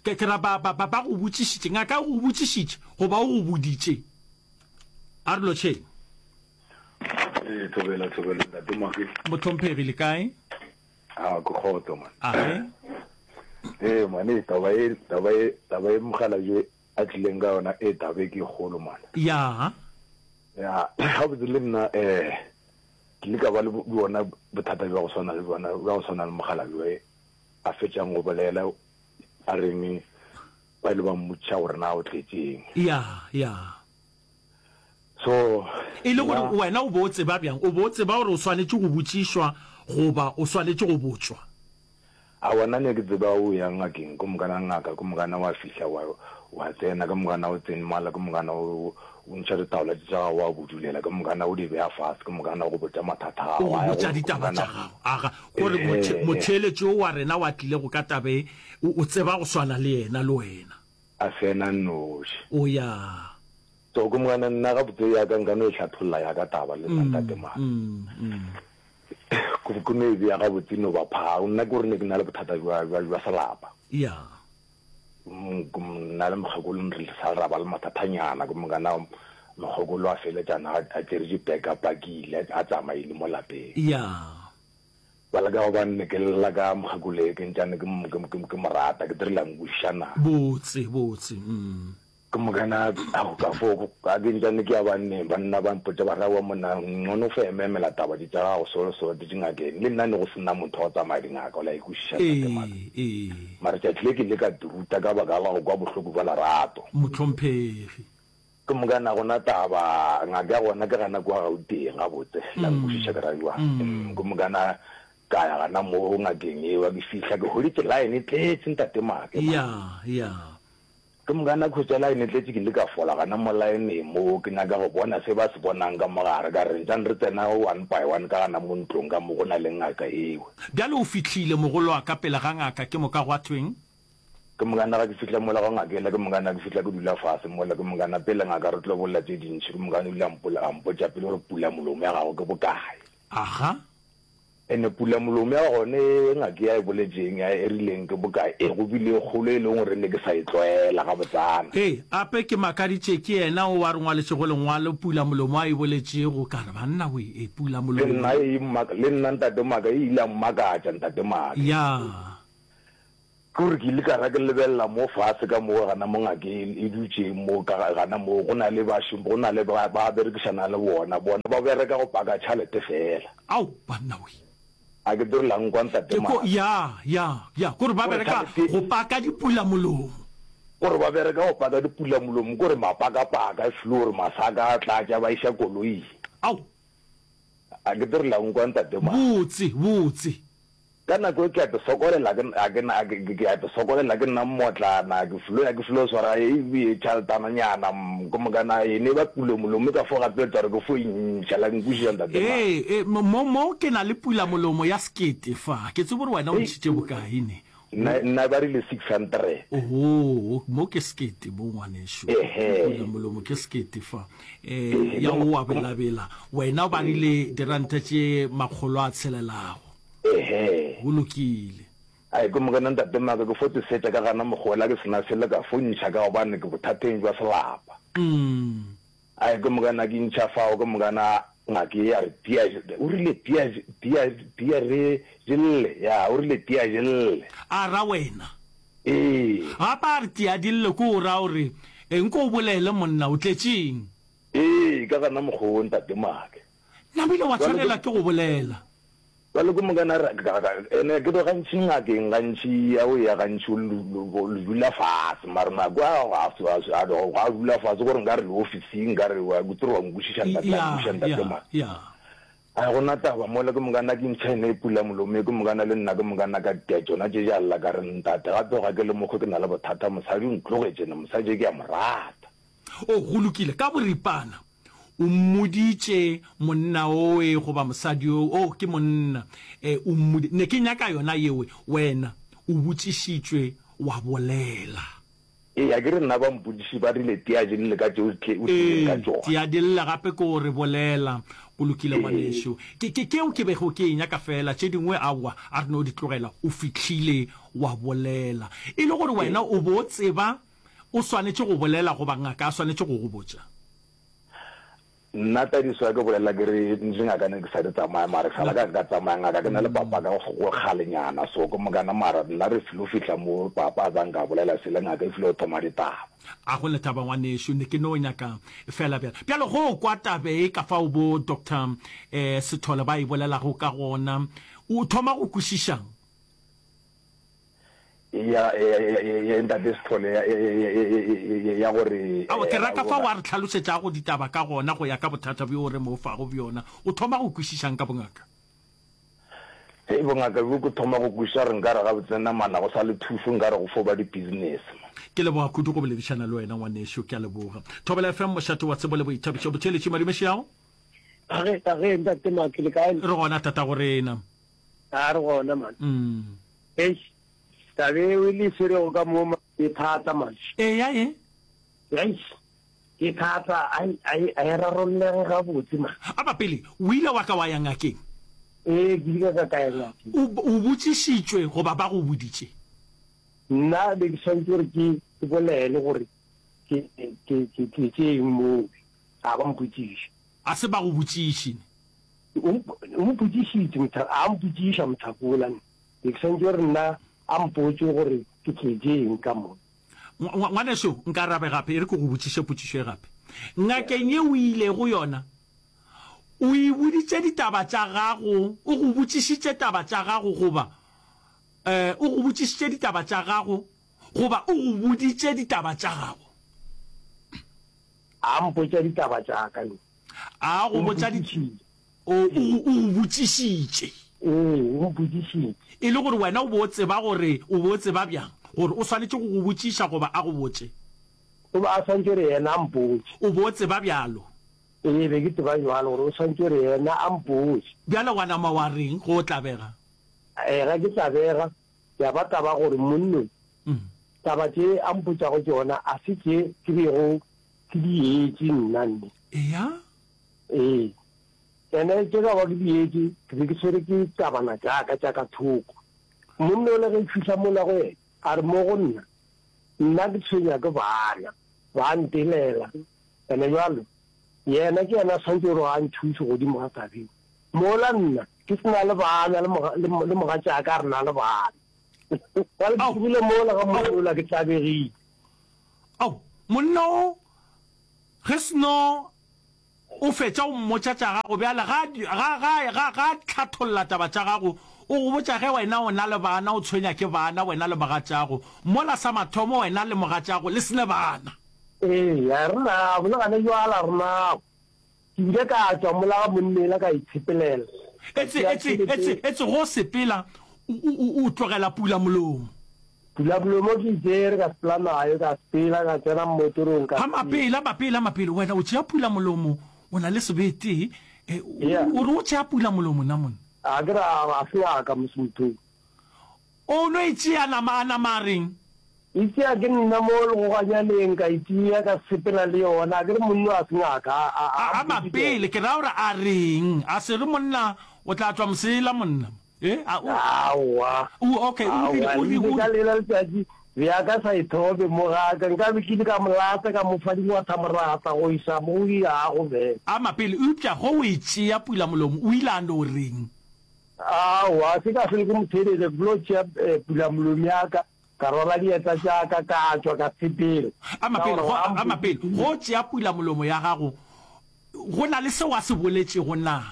Ke, ke ra ba, ba, ba, ba go botšišitše. Ngaka e go botšišitše, goba o go boditše. A re lotšheng. Ee, thobela, thobela, ntate Moagi. Mohlomphegi, le kae? A, ke kgotso, man. Age. Ee, man, ee, taba e, taba e, taba e mokgalabje a tlileng ka yona, ee, taba e ke e kgolo, man. Ya. Ya, gabotse le nna, eh, ke ile ka ba le bona bothata bja go swana le bona, bja go swana le mokgalabje a fetšang go bolela, A reng ba ile ba mmotšiša gore na o tletše eng. Ya, ya. So, E le gore nna. wena o be o tseba bjang? O be o tseba gore o swanetše go botšišwa goba o swanetše go botšwa? Aowa, nna ne ke tseba o ya ngakeng, ke mokana ngaka, ke mokana wa fihla wa, wa tsena, ke mokana o tsene mola, ke mokana o, o ntšha ditaola tše tša gago wa budulela, ke mokana o di beya fase, ke mokana o go botša mathata a O gago, go a ya botša gore ke ditaba mokana. tša gago. Aga, gore mothe, motheeletši wo wa rena wa tlilego ka taba e, o, o tseba go swana le yena, le wena. A se yena nnoši. O ya. So ke mokana nna gabotse ya ka nka no e hlatholla ya ka taba le nna ntate Mare. Ke, ke no e bea gabotse no ba phaa. Nna ke gore ne ke na le bothata bja, bja, bja selapa. Ya. Nna le mokgekolo re sa ra ba le mathathanyana, ke mokana mokgekolo a feletšana a tšere dibeke a pakile a tsamaile mo lapeng. Ya. Bjale ka gobane ne ke lla ka mokgekolo e ke ntšane ke ke mo rata, ke dirile a nkwešiša na. Botse, botse, mm. Ke mokana ao ka fo ka ke ntšane ke ya banneng, banna ba mpotša ba re aowa monna ngcono o fo ememela taba tše tša gago so so di dingakeng. Le nna ne go se na motho wa go tsamaya dingaka o la e kwešiša ntate Maka. Ee, ee. Mara tšatši le ke ile ka di ruta ka baka la go kwa bohloko bja lerato. Mohlomphegi. Ke mokana gona taba ngaka ya gona ke gana kua Gauteng gabotse la nkwešiša ke ra bjang. Ke mokana ka ya gana mo ngakeng eo ke fihla ke hweditše line e tletše ntate Make. Ya, ya. Ke moka nako tša laene tletše ke ile ka fola gana mo laeneng mo ke nyaka go bona se ba se bonang ka mo gare, ka re ntšane re tsena one by one ka gana mo ntlong ka mo go na le ngaka ewe. Bjale o fihlile, mogolo wa ka, pele ga ngaka, ke moka gwa thweng? Ke moka nna ga ke fihla mola go ngaka yela, ke moka nna ke fihla ke dula fase mola, ke moka nna pele ngaka re tlo bolela tše dintši, ke moka o ile a mpotša pele gore pula molomo ya gago ke bokae. Aga. Ene pulamolomo ya gone e ngaka ya e boletšeng ya e rileng ke bokae, e go bile e kgolo e leng gore ne ke sa e tlwaela gabotsana. Ee, ape ke makaditše ke yena o a re ngwaletšego lengwalo pulamolomo a e boletšego, ka re banna we, e Le pulamolomo. nna e mmaka, le nna Ntate Maka e ile ya mmakatša Ntate Maka. Ya. Ke gore ke ile ka ra ke lebelela mo fase ka mo gana mo ngaka e, e dutšeng mo ka gana mo go na le bašom go na le ba ba berekišana le bona bona ba bereka go paka tšhalete fela. Ao banna we. A ke dire la nkwa ntate Ke ko Mara. ya ya ya kore ba Kore bereka tšhalete go paka dipula molomo. Kore ba bereka go paka dipula molomo kore mapakapaka e feel gore masaka a tlatša ba iša koloing. Ao. A ke dire la nkwa ntate Mara. Botse botse. Ka nako e ke a te sokolela ke a ke na ke ke a te sokolela ke nna mmotlana ke flo ya ke flo swara e e tšhaletana nyana ke mokana e ne ba pula molomo ka fo gapeletsa gore ke fo intšha la nkwešiša ntate ma. Ee, e, mo, mo ke na le pula molomo ya sekete fa. Ke tsebe gore wena o ntšhitše bokae ne. Nna, nna ba rile 600. Oho, mo ke sekete mo ngwanešu. Ehe. Pula molomo ke sekete fa. E, ya o wa belabela. Wena ba rile diranta tše makgolo a tshelelago. Ehe. Go lokile. Ai, ke Morena Ntate Maka, ke fo te setša ka gana mogola ke sena selo ka fo ntšha ka gobane ke bothateng jwa selapa. Ai, ke Morena ke ntšha fao, ke Morena ngake ye ya re tia, o rile tia, tia, tia re je lle, ya, o rile tia je lle. A ra wena. Ee. Gape a re tia di lle, ke o ra o re, nko o bolele monna, o tletšeng? Ee, ka gana mokgwa wo Ntate Make. Namile wa tshwanela ke go bolela. Bjale ke mokana re, ka, ka, ene ke do gantši ngakeng gantši ya o ya gantši o le dula fase mara nako a ga a a ga a dula fase gore nkare le ofising nkare wa ke tsere wa nkwešiša ntate la nkwešiša ntate ma. A gona taba mola ke mokana ke ntšha ene e pula molomo ke mokana le nna ke mokana ka tia tšona tše ja lla ka re ntate gape ga ke le mokgwe ke na le bothata mosadi o ntlogetše ne mosadi ke a mo rata. O go lokile ka boripana. O mmoditše monna owe goba mosadi owe, oh, ke monna, e, o mmodi, ne ke nyaka yona yewe, wena o botšišitšwe wa bolela. Ee, a ke re nna ba mpotšiši ba rile tia di lle ka tše o tle, o tlileng ka Ee, tšona. tia di lle gape ke o re bolela. Go lokile Ee. ngwanešu. Ke, ke, keo ke bego ke e nyaka feela, tše dingwe aowa, a re no di tlogela. O fihlile wa bolela. E le gore wena o bo o tseba o swanetše go bolela goba ngaka a swanetše go go botša. Nna tadiso ya ke bolela ke re ntše ngaka ne ke sa di tsamaya mara ke sala ka ka tsamaya ngaka ke na le papa ka go kgalenyana so ke mokana mara nna re filo fihla mo papa a zang ka bolela sele ngaka e filo go thoma ditaba. A go le taba ngwanešu ne ke no nyaka fela bjalo. Bjalo go kwa tabe e ka fao bo Doctor Sethole ba e bolelago ka gona o thoma go kwešišang? Ya, ya, ya, ya, ya Ntate Sithole, ya, ya, ya, ya, ya, ya, ya, ya gore, Aowa, ke eh, rata fao a re hlalosetšago ditaba ka gona go ya ka bothata bjo re mo fago bjona. O thoma go kwešišang ka bongaka? Hei, bongaka bjo ke thoma go kwešiša gore nkare gabotse namana go sa le thušo, nkare go fo ba di-business. Ke leboga kudu go boledišana le wena ngwanešu, ke a leboga. Thobela FM, mošate wa tsebo le boithabišo. Botheeletši Madumešeago. Age, age, Ntate Maki, le kae? Re gona tatagorena. A re gona man. Mm. Eish, taba eo e le swerego ka mo e thata man. Eya e. Eish, ke thata, ai ai ai rarollege gabotse man. A ba pele, o ile wa ka wa ya ngakeng? Ee, ke ile ka ka ya ngakeng. O o botšišitšwe goba ba go boditše? Nna be ke swanetše gore ke ke bolele gore ke ke ke tletše eng moo, a ba mpotšiša. A se ba go botšiše ne? O o mpotšišitše motha, a mpotšiša mothakola ne. Ke swanetše gore nna a mpotše gore ke tletše eng ka mo. Ngwanešu, nkarabe gape, e re ke go botšiše potšišo e gape. Ngakeng ye o ilego yona, o e boditše ditaba tša gago, o go botšišitše taba tša gago goba, eh, o go botšišitše ditaba tša gago goba o go boditše ditaba tša gago? A mpotša ditaba tša ka ne. A go botša di o o o go botšišitše. Ee, o mpotšišitše. E le gore wena o bo o tseba gore o bo o tseba bjang gore o swanetše go go botšiša goba a go botše? O be a swanetše gore yena a mpotše. O bo o tseba bjalo? Ee, be ke tseba bjalo gore o swanetše gore yena a mpotše. Bjale wa nama wa reng ge o tlabega? Ee, ge ke tlabega, ya ba taba gore monnong taba tše a mpotšago tšona a se tše ke bego Ke di etše nna nne. Eya? Ee. Ene tše ka ba ke di etše, ke be ke swere ke tabana tša ka tša ka thoko. Monna ole ge ke fihla mola go yena, a re mo go nna, Nna ke tshwenya ke bana, ba ntelela. Ene bjalo, yena ke yena a swanetše gore a nthuše godimo ga taba ye. Mola nna ke se na le bana le, le, le mogatšaka re na le bana. Bjale ke tlogile mola ga monna yola ke tlabegile. Ao, monna o ge seno o fetša o mmotša tša gago bjale ga ga ga ga ga hlatholla taba tša gago o go botša ge wena o na le bana o tshwenya ke bana wena le mogatšago mola sa mathomo wena le mogatšago le sene bana. Ee, a re nabo le gane jwale a re nabo. Ke ile ka tšwa mola ga monna ela ka itshepelela. Ka Etse, tšea etse, tšhelete. etse, etse go sepela o, o, o tlogela pula molomo. Pula molomo ke e tšere ka sepela nayo, ka sepela ka tsena mmotorong ka Ha sepela. mapele, mapele, mapele, wena o tšea pula molomo, o na le sebete, e, o, Yeah. o re o tšea pula molomo na monna? A ke re a, a se ngaka mos motho. O no e tšea nama, a nama a reng? E tšea ke nna mo legoganyaneng, ka e tšea ka sepela le yona. A ke re monna a se ngaka, a, a, A, a a mapele, ke ra gore a reng? A se re monna o tla tšwa mosela monna? E, a o. Aowa. O, okay, o rile, Aowa, o rile, ebile o ka lela letšatši bja ka sa ithobe mo ga ka, nka be ke ile ka mo lata ka mo fa dingwathamoratha go isa mo o yago bjale. A mapele, eupša ge o e tšea pulamolomo, o ile a no reng? Aowa, se ka hlwele ke mo theeletša, ke filo tšea pulamolomo ya ka, ka rwala dieta tša ka, ka tšwa, ka sepela. A Ka mapele, gore go, ga a mapele, mpotše go tšea pulamolomo ya gago, go na le seo a se boletšego na?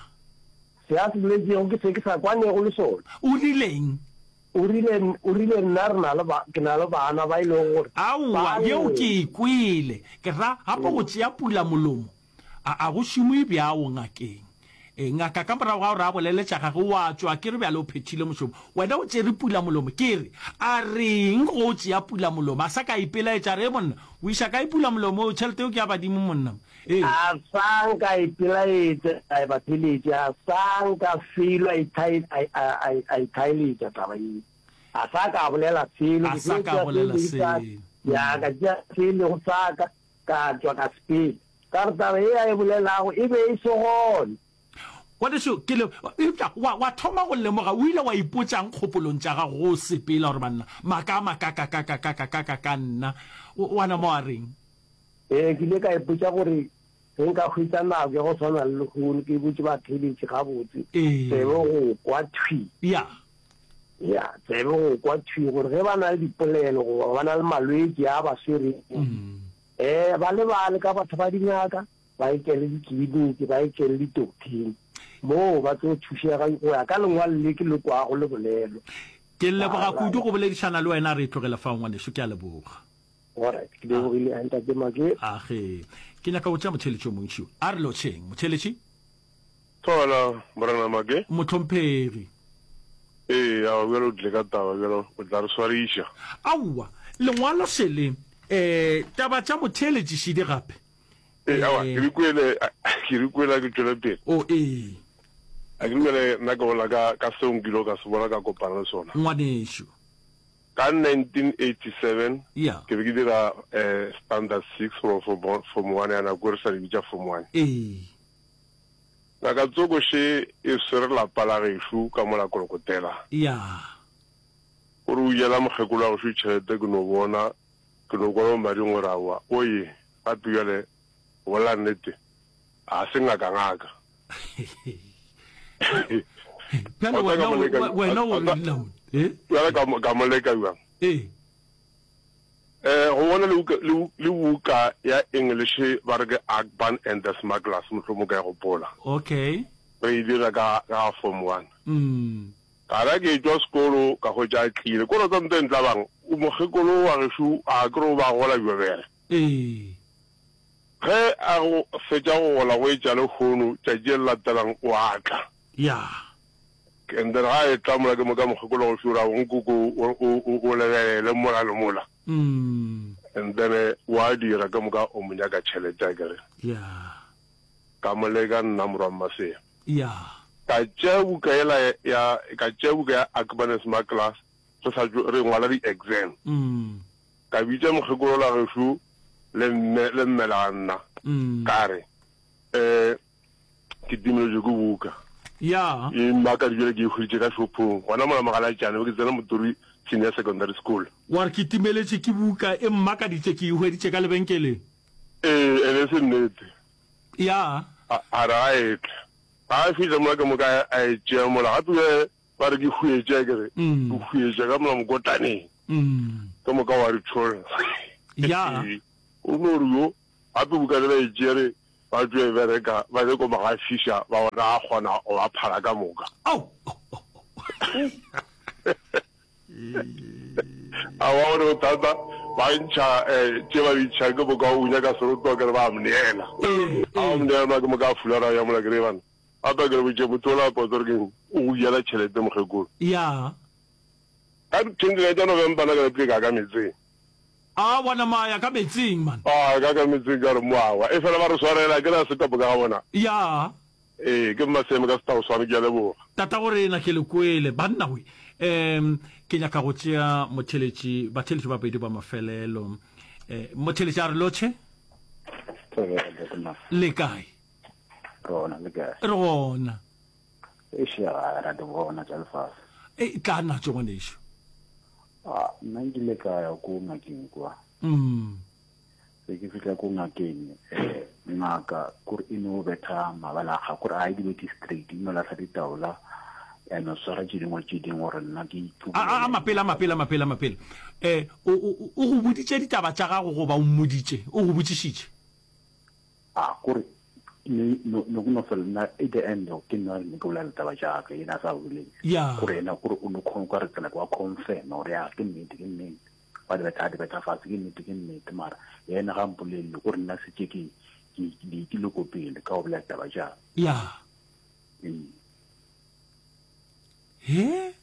Se a se boletšego ke se ke sa kwanego le sona. O rileng? O rile, o rile, nna re na le ba, ke na le bana ba e lego gore Aowa, ba yeo lla. ke e kwele. Ke ra, gape go tšea pulamolomo, A, a go šomwe bjao ngakeng. E, ngaka ka morago ga gore a bolele tša gagwe, wa tšwa, ke re bjale o phethile mošomo. Wena o tšere pulamolomo. Ke re, a reng go o tšea pulamolomo? A sa ka a ipelaetša, a re, He monna, o iša kae pulamolomo? Tšhelete eo ke ya badimo monna. Ee. A sa nka a ipelaetša, a e ba pheletše, a sa nka felo a ithai, a, a, a, a ithaeletša taba yeo. A sa ka a bolela selo. A Ke sa tlo ka a tšea se bolela lego sa, selo. ya, ka tšea se lego sa ka, ka tšwa ka sepela. Ka re taba ye a e bolelago e be e se gona. Ngwanešu, ke le, eupša wa, wa thoma go lemoga, o ile wa ipotšang kgopolong tša gago ge o sepela, gore banna, maaka a makakakakakakakaka nna, o, wa nama wa reng? Ee, ke ile ka ipotša gore ge nka hwetša nako ya go swana le lehono, ke botše batheeletši gabotse, Ee. tsebe go kwa thwi. Ya. Ya, tsebe go kwa thwi gore ge ba na le dipolelo goba ba na le malwetši a ba swerego, Ee, ba lebale ka batho ba dingaka, ba etele dikliniki, ba etele ditokthing, moo ba tlo thušega go ya ka lengwalo le ke le kwago le bolelwa. Ke leboga kudu go boledišana le wena. Re tlogele fao, ngwanešu. Ke a leboga. Alright, ke lebogile, a Ntate Make. Age, ke nyaka go tšea motheeletši o montši. A re lotšheng, motheeletši. Thobela, Morena Make. Mohlomphegi. Ee, aowa, bjale o tlile ka taba, bjale o tla re swariša. Aowa, lengwalo šele, eh, taba tša motheeletši šidi gape. Ee, aowa, ke di kwele, ke di kwele, a ke tšwele pele. O, ee. A ke dumele, nna ke bolela ka, ka seo nkilego ka se bona, ka kopana le sona. Ngwanešu. Ka 1987, Ya. ke be ke dira, eh, standard six goba form, form one ya nako e re sa di bitša form one. Ee. Ngaka Tsoko še e swere lapa la gešo ka mola Kolokotela. Ya. O re o jela mokgekolo wa gešo tšhelete ke no bona, ke no kwa mo mading gore aowa o ye, gape bjale go bolela nnete ga se ngaka ngaka. Bjale Wa tseba wena ka mo leka, o, wena o reng na monna? Eh? Bjale ka mo, ka mo leka bjang? Ee. Eh, go bona le buka, le, le buka ya English ba re ke Akban and the Smugglers, mohlomong ka e gopola. Okay. Re e dira ka, ka form one. Mm. Ka ra ke etšwa sekolo, ka hwetša a tlile. Kore tsa nto e ntlabang, mokgekolo wa gešo a ke re o ba gola bjobere. Ee. Ge a go fetša go gola go etša lehono, tšatši le le latelang o a tla. Ya. And then ga e tla mola ke mo ka mokgekolo go šura o nkoko o o o lebelele mola le mola. Mm. And then wa dira ka moka o mo nyaka tšhelete a kere. Yeah. Ka mo leka nna morwa Mmasea. Yeah. Ka tšea buka yela ya ka tšea buka ya Akbanes Maklas re sa tšo re ngwala di exam. Mm. Ka bitša mokgekolo la gešo le mme le mme la nna. Mm. Ka re eh Ke timeletšwe ke buka. Ya. E mmakadi bjale ke e hweditše ka shopong gona mola Mogalatšane, be ke tsena Motori Senior Secondary School. Wa re ke timeletše ke buka, e mmakaditše ke e hweditše ka lebenkeleng. Ee, ene e se nnete. Ya. A, a re ga e tle. Ga a fihla mola ke moka a e tšea mola gape bjale. Ba re ke hwetše, a ke re, ke hwetše ka mola mokotlaneng. Ke moka wa re tšholla. Ya. O no re yo, gape buka le ba e tšere, ba tšo e bereka, ba nyako mo gafiša, ba bona a kgona go ba phala ka moka. Ao! A wa gore bothata, ba ntšha eh, tše ba di ntšhang, ke moka o nyaka seroto, ke re ba a mneela. A ba mneela, ke moka a fulara ya mola, ke re bana. Gape ke re botše motho ola potso gore keng o go jela tšhelete mokgekolo. Ya. Ka di 29 tša November nna ka lapile ka ka metseng. A wa nama ya ka metsing man. A ka ka metsing ka re moawa. E fela ba re swarela ke ra se ka moka ga bona. Ya. Ee ke Mmaseme ka Setaoswane ke a leboga. Tatagorena ke le kwele banna we. Um ke nyaka go tšea motheletši batheletši ba bedi ba mafelelo. Um motheletši a re lotšhe. Thobela Ntate Masa. Le kae? Re gona le kae? Re gona. Eish ga ra di bona tša lefase. E tla natšo ngwanešu. A nna nkile ka ya ko ngakeng kwa. Mm. Ge ke fihla ko ngakeng eh, ngaka kore e no betha mabala a kore a e di bete straight e no lahla ditaola ya no swara tše dingwe tše dingwe gore nna ke A a mapele a mapele a mapele a mapele. Eh o o o go boditše ditaba tša gago goba o mmoditše? O go botšišitše? A kore ne no no no fela nna at the end ke nna ne ke bolela taba tša ka yena a sa bolele. Ya. Kore yena kore o no khon ka re tsela kwa confirm gore ya ke nnete ke nnete. Ba di betha di betha fatshe ke nnete ke nnete mara yena ga mpolelele kore nna setse ke ke ke ke le ko pele ka go bolela taba tša. Ya. Ee. He?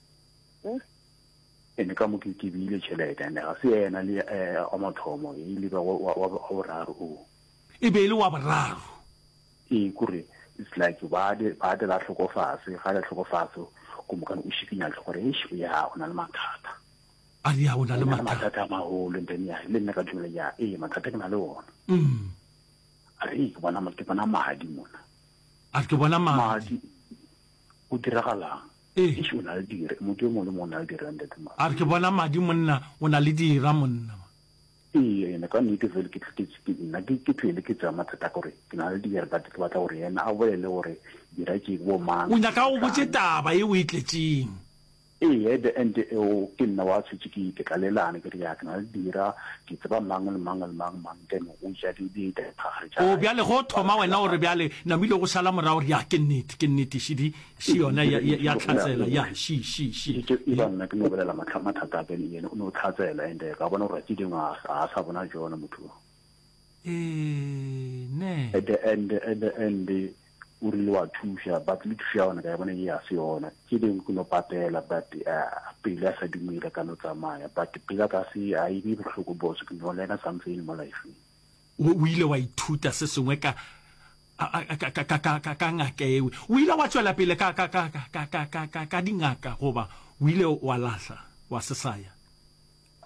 Ene ka mo ke ke beile tšhelete ene ga se yena le eh, wa mathomo e ile ba wa wa wa boraro o. E be e le wa boraro. Ee, kore it's like ba de ba de la hlokofase, ga le hlokofase ko mokane o šikinya tlhogo gore eish ya o na le mathata. A re ya o na le mathata. Mathata a maholo and then ya le nna ka dumela ya ee mathata ke na le ona. Mm. A re ke bona ke bona madi mona. A re ke bona madi. Madi o diragalang? Ee. Eish o na le dira, motho yo mongwe le mongwe o na le dira ntate Madi. A re ke bona madi monna, o na le dira monna. Ee, ene ka nnete fele ke ke ke nna ke ke tlwele ke tsaya mathata gore ke na le dira but ke batla gore yena a bolele gore dira ke bo mang. O nyaka o botše taba ye o e tletšeng. Ee, at the end eo ke nna wa tshwetše ke ke tlalelane ke re ya ke na le dira ke tseba mang le mang le mang mang then o ja di di diphagare tša O bjale go thoma wena o re bjale namile go šala morago re ya ke nnete ke nnete še di še yona ya ya ya tlhatsela ya še še še. E ba nna ke no bolela mathata a ka yena o no tlhatsela and ka bona gore tše dingwe a sa bona jona motho o. Ee ne. At the end at the end o rile wa thuša but le thušo ya gona ka e bona ye ya se yona tše dingwe ke no patela but pelo ya sa dumele ka no tsamaya but pelo ya ka se a e be bohloko boss ke no learner something mo lifeng. O ile wa ithuta se sengwe ka ka ka ka ka ka ngaka ewe. O ile wa tšwela pele ka ka ka ka ka ka ka ka dingaka goba o ile wa lahla wa se sa ya?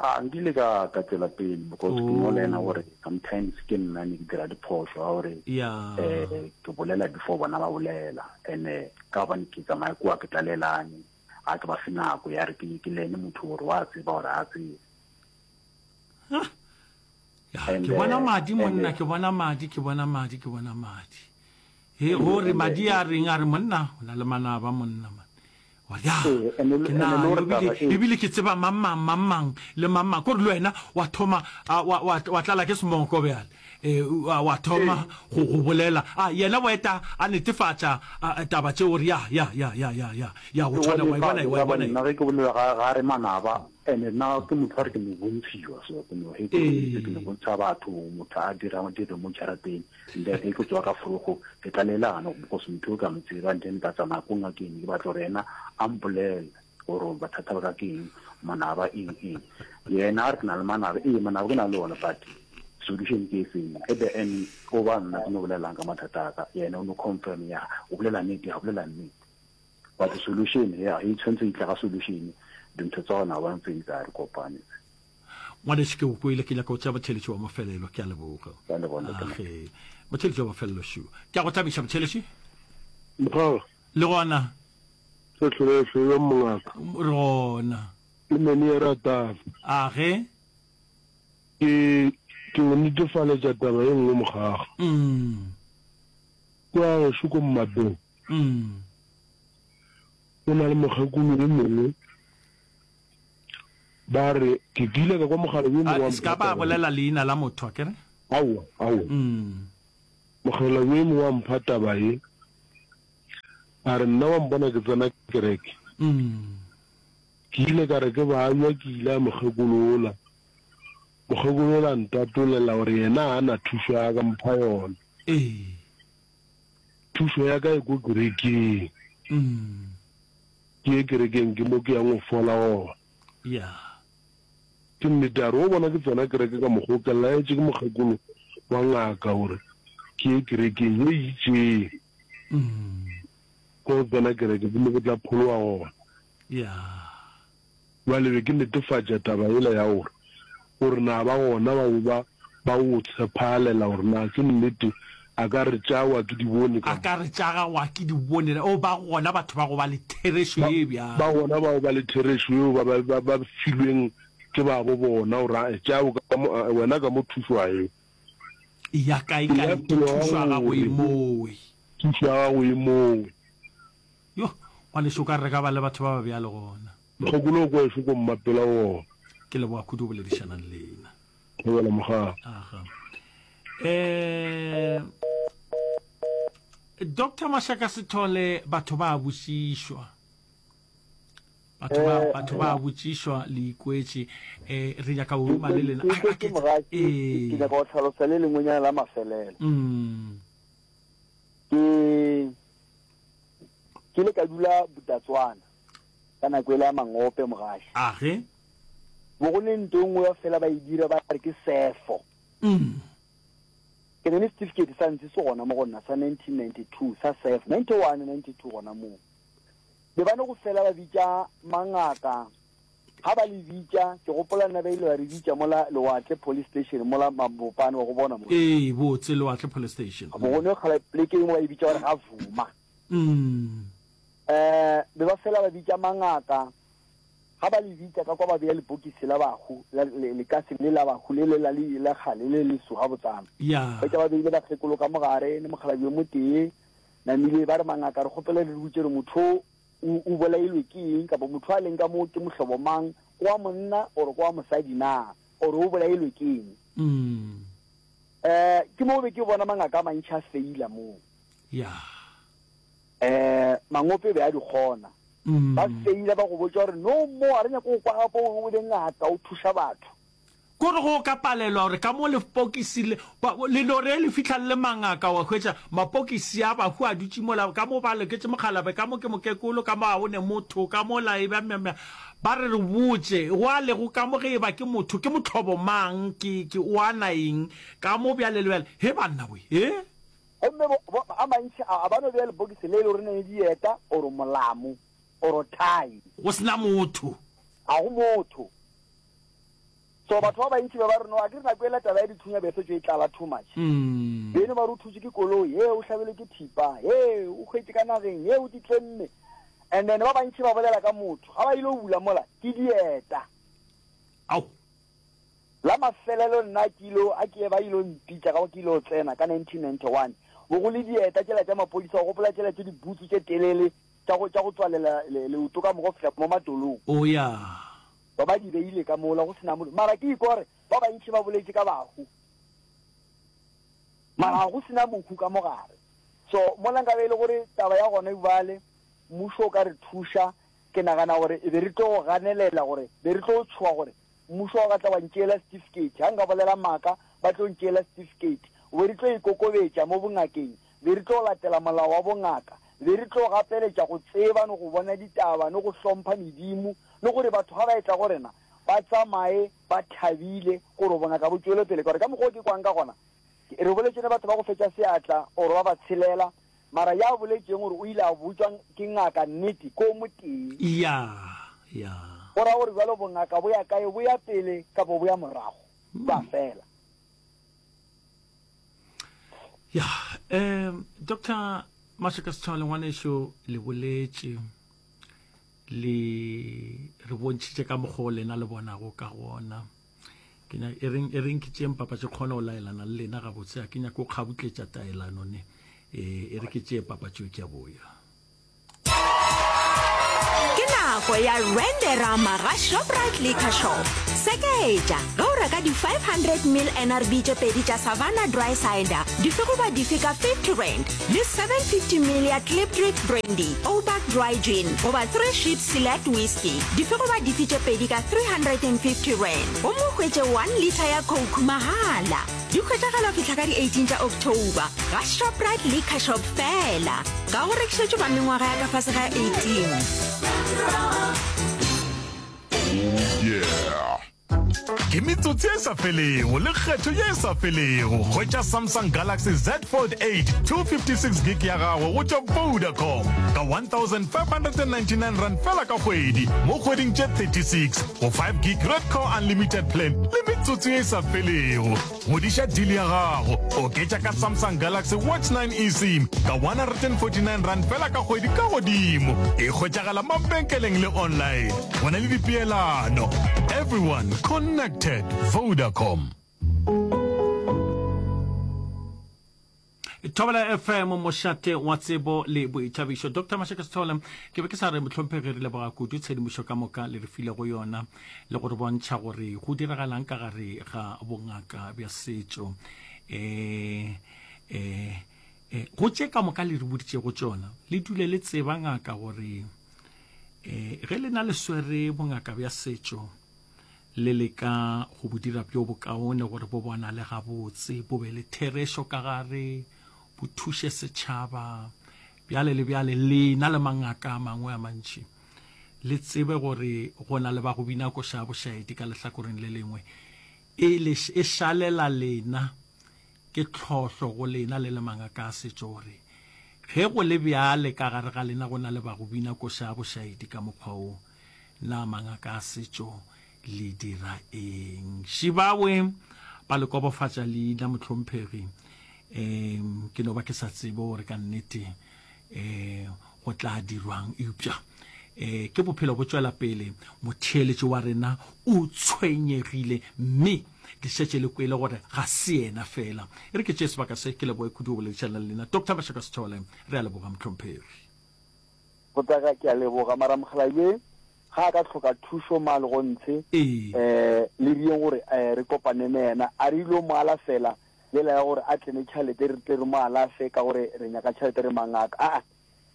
A nkile ka ka tšwela pele because ke no learner gore sometimes ke nna ne ke dira diphošo ga gore eh ke bolela before bona ba bolela and ka gobane ke tsamaya kua ke tlalelane ga ke ba fe nako ya re ke ke learne motho gore wa tseba gore a tsebe. Ya, ke bona madi monna, ke bona madi, ke bona madi, ke bona madi. He, go re madi a reng a re monna, o na le manaba monna man. Wa ya, ke na ebile ebile ke tseba mang mang mang mang le mang mang. Kore le wena wa thoma wa wa wa tlala ke semoko bjale. Eh wa thoma go go bolela. A yena wa eta a netefatša taba tšeo gore ya ya ya ya ya ya ya go tshwana wa e bona wa e bona. Nna ge ke bolela ga ga re manaba And-e nna ke motho wa re ke no bontshiwa so ke no he ke ke no bontsha batho motho a dirang dilo mo jarateng and then he ke tswa ka forogo ke tlalelana because motho o ka mo tseba and then ka tsamaya ko ngakeng ke batla gore yena a mpolele gore bothata ba ka ke eng manaba eng eng yena a re ke na le manaba ee manaba ke na le ona but solution ke e feng at the end o ba nna ke no bolelang ka mathata a ka yena o no confirm ya o bolela nnete ya bolela nnete But solution ya e tshwanetse e tla ka solution dintho tsa gona ba ntse di re kopane. Ngwanešu ke o kwele ke nyaka go tšea motheletši wa mafelelo ke a leboga. Ke a leboga ntate. Age motheletši wa mafelelo šu. Ke a go thabiša motheletši. Mokgwa. Le gona. Se hlole hlole mongaka. Re gona. Ke mene ya ratana. Age. Ke ke go netefaletša taba e nngwe mokgaga. Mm. Kwa gešo ko Mmapeng. Mm. Go na le mokgekolo yo mongwe, ba re, ke kile ka kwa mogala yo mongwe wa Se ka ba bolela leina la motho, a ke re? Aowa, aowa. Mogala yo mongwe wa mpha taba ye, a re, Nna wa mpona ke tsena kereke. Ke ile ka re ke babja, ke ile a mokgekolo wola. Mokgekolo wola a ntatolela gore yena ga a na thušo ya ka mpha yona. Ee. Thušo ya ka e ko kerekeng. Ke ye kerekeng ke mo ke yang go fola gona. Yeah. Ke nnete a re o bona ke tsena kereke ka mokgwa o ke laetše ke mokgekolo wa ngaka gore ke ye kerekeng ye e itšeng. Ko go tsena kereke ke mo ke tla phologa gona. Yeah. Bjale be ke netefatša taba yela ya gore, gore na ba gona bao ba, ba o tshephalela gore na ke nnete, a ka re tša wa ke di bone ka A ka re tša ga wa ke di bone, o ba gona batho ba go ba le therešo Ba, ye bjalo. ba gona bao ba le therešo yeo ba, ba, ba, ba filweng ke babo bona gore, a, tša o ka mo, a, wena ka mo thušo a eo. Ya kae, kae, ke thušo ya gago e mowe. Thušo ya gago e mowe. Yo, ngwanešu, o ka re re ka ba le batho ba ba bjalo gona. Mokgekolo o kwešo ko mmapela wona. Ke leboga kudu go boledišanang le lena. Thobela mogala. Aga. Eh Dr. Mashaka Sithole batho ba botšišwa. Batho ba eh, batho ba botšišwa le ikwetše eh re nyaka go ruma le lena. Ke ke eh. ke nyaka go tlhalosa le lengwenyana la mafelelo. Mm. Ke ke le ka dula Botatswana. Ka nako ele ya mangope, mogaši. Age. Bo go ne nto e nngwe ba fela ba e dira ba re ke sefo. Ke ne le certificate sa ntse se gona mo go nna sa 1992 sa sefo, 91, 92 gona moo. Be ba ne go fela ba bitša mangaka, ga ba le bitša, ke gopola nna ba ile ba re bitša mola Lewatle Police Station mola Mabopane wa go bona mo. Ee, botse Lewatle Police Station. Bo go ne kgala poleke e nngwe ba e bitša ba re ga Vuma. Eh, be ba fela ba bitša mangaka. Ga ba le bitša ka kwa ba bea lepokisi la bahu, la, le, lekase le la bahu le le la, le, la kgale le leso gabotsana. Ya. Hwetša ba beile bakgekolo ka mo gare, le mokgalabje yo motee, namile ba re, Mangaka, re kgopela le re botše gore motho o, o bolailwe ke eng, kapa motho a leng ka mo ke mohlobo mang, ke wa monna or ke wa mosadi na, or o bolailwe ke eng. Mm. Eh, ke mo be ke bona mangaka a mantši a feila moo. Ya. Eh, mangope be a di kgona. Ba feila ba go botša gore no more, ga re nyake go kwa gape o be ngaka o thuša batho. Ko re go ka palelwa gore ka mo lepokisi le, ba, le no re le fihla le le mangaka wa hwetša mapokisi a bahu a dutše mola, ka mo ba loketše mokgalabje, ka mo ke mokekolo, ka mo ga go ne motho, ka mola e ba mya, ba re re botše go a lego ka mo ge e ba ke motho, ke mohlobo mang, ke, ke, o ana eng, ka mo bjale le bjale. He banna we, he? Gomme bo, bo, a mantši a, a ba no bea lepokisi le e le gore ne le dieta, oro molamo, oro thai. Go se na motho. Ga go motho. So batho ba bantši ba ba re, No, akere nako yela taba ya dithunya be e setšwe e tlala too much. Beno ba re o thutšwe ke koloi, he, o hlabelwe ke thipa, he, o hwetše ka nageng, he, o ditlemme. And then ba bantši ba bolela ka motho, ga ba ile go bula mola, ke dieta. Ao. La mafelelo nna ke ilo, a ke ba ilo mpitša ka go ke ilo tsena ka 1991, bo go le dieta tšela tša maphodisa, o gopola tšela tše dibutsu tše telele tša go, tša go tswalela le, leoto ka mogo fihla mo matolong. O ya. Ba ba di beile ka mola go se na motho. Mara ke ikwa gore ba bantši ba boletše ka bahu, mara ga go se na mohu ka mo gare. So mola nka be e le gore taba ya gona bjale mmušo o ka re thuša, ke nagana gore e be re tlo go ganelela gore be re tlo tšhoga gore Mmušo wa ka tla wa ntšeela setifikeiti. Ga nka bolela maaka, ba tlo ntšeela setifikeiti. Be re tlo ikokobetša mo bongakeng. Be re tlo latela molao wa bongaka. Be re tlo gapeletša go tseba le go bona ditaba le go hlompha medimo le gore batho ga ba etla go rena ba tsamaye ba thabile gore bongaka bo tšwele pele. Ka gore ka mokgwa o ke kwang ka gona, re boletše le batho ba go fetša seatla or ba ba tshelela Mara ya boletšeng gore o ile a botšwa ke ngaka nnete ke o motee. Ya, ya. Go ra gore bjalo bongaka bo ya kae, bo ya pele kapo bo ya morago? Ba fela. Ya, um Doctor Mashaka Sethole ngwanešu le boletše le re bontšhitše ka mokgwa o lena le bonago ka gona. Ke nya e reng e reng ke tšeeng papatšo ke kgone go laelana le lena gabotse a ke nyake go kgabutletša taelano ne e e re ke tšee papatšo ke a boya. nako ya Randerama ga Shoprite Liquor Shop. Seketša, ge o reka di 500 ml NRB tše pedi tša Savanna Dry Cider, dife goba dife ka R50 le 750 ml ya Klipdrift Brandy, Ouback Dry Gin goba Three Ships Select Whisky, dife goba dife tše pedi ka R350 gomme o hwetše 1 litre ya Coke mahala. Di hwetšagala go fihla ka di 18 tša October ga Shoprite Liquor Shop feela. Ga go rekišetšwe ba mengwaga ya ka fase ga 18. Oh yeah! Ke metsotso ye e sa felego le kgetho ye e sa felego. Hwetša Samsung Galaxy Z Fold 8 256 gig ya gago go tšwa Vodacom ka R1599 fela ka kgwedi mo kgweding tše 36 go 5 gig Red Core Unlimited plan le metsotso ye e sa felego. Godiša deal ya gago, oketša ka Samsung Galaxy Watch 9 eSIM ka R149 fela ka kgwedi ka godimo. E hwetšagala mabenkeleng le online. Go na le dipeelano. Everyone connected. Vodacom. Thobela FM, mošate wa tsebo le boithabišo. Doctor Mashaka Sithole, ke be ke sa re mohlomphegi re leboga kudu tshedimošo ka moka le re filego yona le go re bontšha gore go diragalang ka gare ga bongaka bja setšo. E, e, e, go tše ka moka le re boditšego tšona, le dule le tseba ngaka gore e, ge le na le swere bongaka bja setšo, le leka go bo dira bjo bokaone gore bo bonale gabotse, bo be le therešo ka gare, bo thuše setšhaba, bjale le bjale. Lena le mangaka a mangwe a mantši, le tsebe gore go na le ba go bina koša ya bošaedi ka lehlakoreng le lengwe. E, le, e šalela lena, ke tlhohlo go lena le le mangaka a setšo gore ge go le bjale ka gare ga lena go na le ba go bina koša ya bošaedi ka mokgwa wo, Na mangaka a setšo le dira eng? Šibawe ba le kobofatša leina mohlomphegi. Um ke no ba ke sa tsebe gore ka nnete um go tla dirwang eupša um ke bophelo bo tšwela pele. Motheeletši wa rena o tshwenyegile mme le šetše le kwele gore ga se yena fela. E re ke tšee sebaka se ke leboge kudu go boledišana le lena Doctor Mashaka Sithole. Re a leboga mohlomphegi. Botaka, ke a leboga. Mara mokgalabje ga a ka hloka thušo ma legontshe Ee. eh le riyeng gore eh re kopane ne yena a re ilo mo alafela lela ya gore a tle ne tšhalete re tle re mo alafe ka gore re nyaka tšhalete re mangaka aa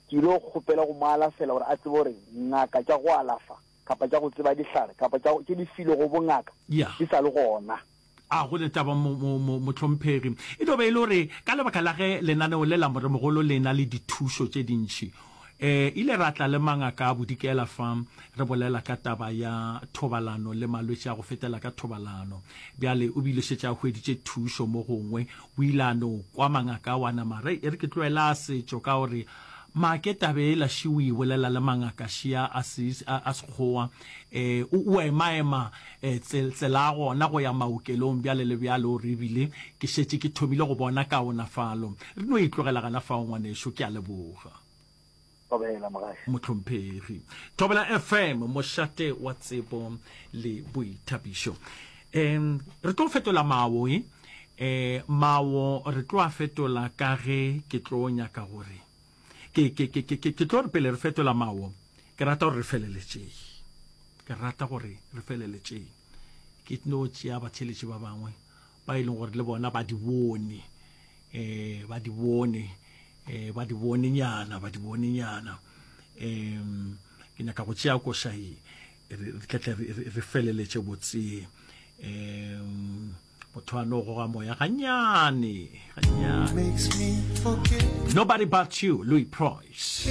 ke ilo kgopela go mo alafela gore a tsebe gore ngaka tša go alafa kapa tša go tseba dihlare kapa tša tše di filego bongaka Yeah. di sa le gona. A go ne taba, mo, mo, mo, mohlomphegi. E no be e le gore ka lebaka la ge lenaneo le la Moremogolo le na le dithušo tše dintši, e ile ra tla le mangaka a Bodikela fa re bolela ka taba ya thobalano le malwetši a go fetela ka thobalano. Bjale o bile šetše a hweditše thušo mo gongwe, o ile a no kwa mangaka ao a nama re, e re ke tloela a setšo ka gore make taba ela še o e bolela le mangaka šea a, a, a Sekgowa, e, o, o emaema E, tse, tsela ya gona go ya maokelong bjale le bjale, o re, ebile ke šetše ke thomile go bona kaonafalo. Re no e tlogela gana fao, ngwanešu. Ke a leboga. Thobela, mogaši. Mohlomphegi. Thobela FM, mošate wa tsebo le boithabišo. Um, re tlo fetola mawo, e. E, mawo re tlo a fetola ka ge ke tlo nyaka gore ke, ke, ke, ke, ke, ke tlo re pele re fetola mawo, ke rata gore re feleletšeng. Ke rata gore re feleletšeng. Ke no tšea batheeletši ba bangwe ba e leng gore le bona ba di bone, eh, ba di bone, eh, ba di bone nyana, ba di bone nyana. Um, ke nyaka go tšea koša ye, re tle tle re feleletše botse. Um, motho a no goga moya ganyane, ganyane. Nobody but you, Louis Price.